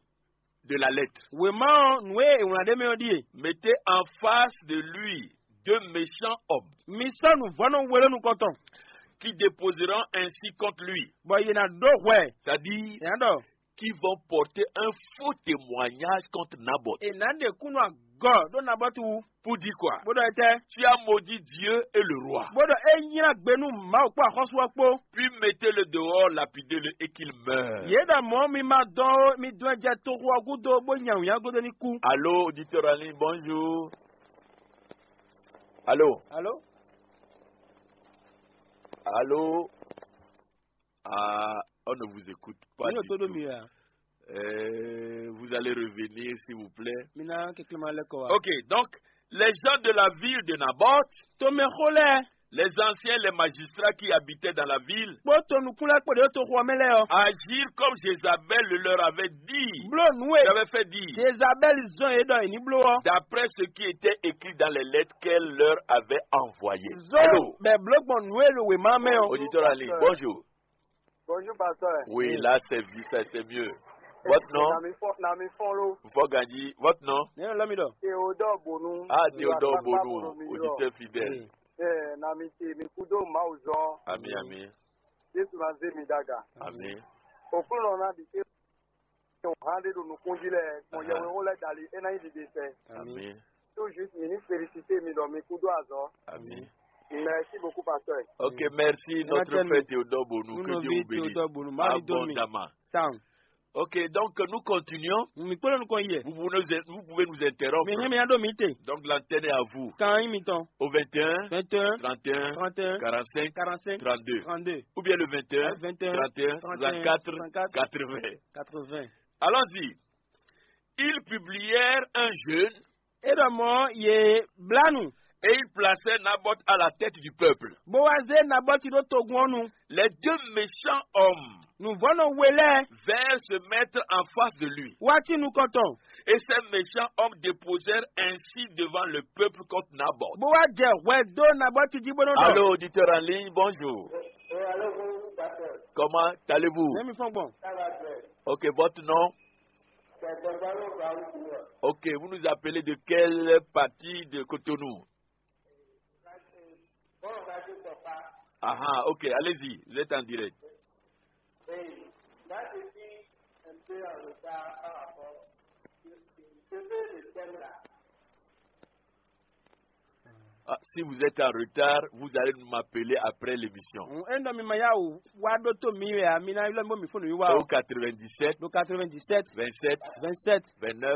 de la lettre. Wěma ɔ́, nǔ e è wlǎn ɖ'é mɛ ɔ́ ɖíe. Mettez en face de lui deux méchants hommes. Mi sɔ́ nǔvɔ́nú we ɖó nukɔn tɔn. Qui déposeront ainsi contre lui. Bɔ yě ná ɖó hwɛ. C'est-à-dire, yě ná ɖɔ, qui vont porter un faux témoignage contre Naboth. È nǎ ɖe kúnnu agɔ ɖó Nabɔtu wú. Pour dire quoi? Bó ɖɔ etɛ́? Tu as maudit Dieu et le roi. Bó ɖɔ é nylá gbe nú Mawu kpó axɔ́sú ɔ́ kpó. Puis mettez-le dehors, lapidez-le et qu'il meure. Yě ɖɔ mɔ̌ mi ma dɔn ó, mi dɔn ɛ jɛ toxo ɔ́ gúdo bó nya wǐnyagodo ní kú. Allô, auditeur en ligne, bonjour. Allô? Allô? Allô? Ah, on ne vous écoute pas du tout. Euh, vous allez revenir, s'il vous plaît. Ok, donc, les gens de la ville de Naboth, tomɛxó lɛ́ɛ, les anciens, les magistrats qui habitaient dans la ville, kpó tonukún lɛ́ɛ kpó ɖě toxo ɔ́ mɛ lɛ́ɛ ɔ́, agirent comme Jézabel le leur avait dit, bló nǔ e j'avais fait dire, Jezabɛ́li zɔ́n yě ɖɔ è ní bló ɔ́. D'après ce qui était écrit dans les lettres qu'elle leur avait envoyées. Zɔ́n bɛ bló gbɔn nǔ e ɖo wěma mɛ ɔ́. Auditeur en ligne, bonjour. Bonjour, pasteur. Oui, là, c'est vi-, ça, c'est mieux. Votre nom? Nami Fo-, Nami Folo. Fo Gandhi, votre nom? Nínú lọ́mí ɖɔ. Théodore Bonu. Ah, Théodore Bonu, auditeur fidèle. Eh, Nami ti mi kudo Mawu zɔn. Ami, ami. Yesu na zé mi daga. Ami. Okunɔ na bi ke o han de ɖo nukun ji lɛ, gbɔn yɛwe wo lɛ dali, e na yi dide sɛ. Ami. Tout juste, mi ní félicité mi ɖɔ mi kúdó azɔ. Ami. Merci beaucoup, pasteur. Ok, merci, notre frère Théodore Bonou, que Dieu vous bénisse. Abondamment. Ok, donc nous continuons. Vous pouvez nous, vous pouvez nous interrompre. Donc l'antenne est à vous. Au vingt et un, vingt et un, trente et un, trente et un, quarante-cinq, quarante-cinq, trente-deux. Trente-deux. Ou bien le vingt et un, vingt et un, trente et un, soixante-quatre, quatre-vingts. Quatre-vingts. Allons-y. Ils publièrent un jeûne. É ɖɔ mɔ̌ yě blá nu. Et ils placèrent Naboth à la tête du peuple. Bó wá zé Nabɔti ɖó togun ɔ́ nu. Les deux méchants hommes, nǔvɔ́nɔ we lɛ́ɛ, vinrent se mettre en face de lui. Wá cí nukɔn tɔn. Et ces méchants hommes déposèrent ainsi devant le peuple contre Naboth. Bó wá jɛ hwɛ dó Nabɔti jí bó nɔ́ ɖɔ. Allô, auditeur en ligne, bonjour. Comment allez-vous? Nɛmi fɔn gbɔn. Ok, votre nom? Ok, vous nous appelez de quelle partie de Cotonou? Ah, ah, ok, allez-y, vous êtes en direct. Oui, là, je suis un peu en retard par rapport Ah, si vous êtes en retard, vous allez m'appeler après l'émission. Ŋun é nɔ mi ma yá wò wá ɖótó mi wɛ a, mi ná ylɔ́ mi bó mi fóònù yín wá o. Au quatre-vingt-dix-sept, ɖo quatre-vingt-dix-sept, vingt-sept, vingt-sept, vingt-neuf,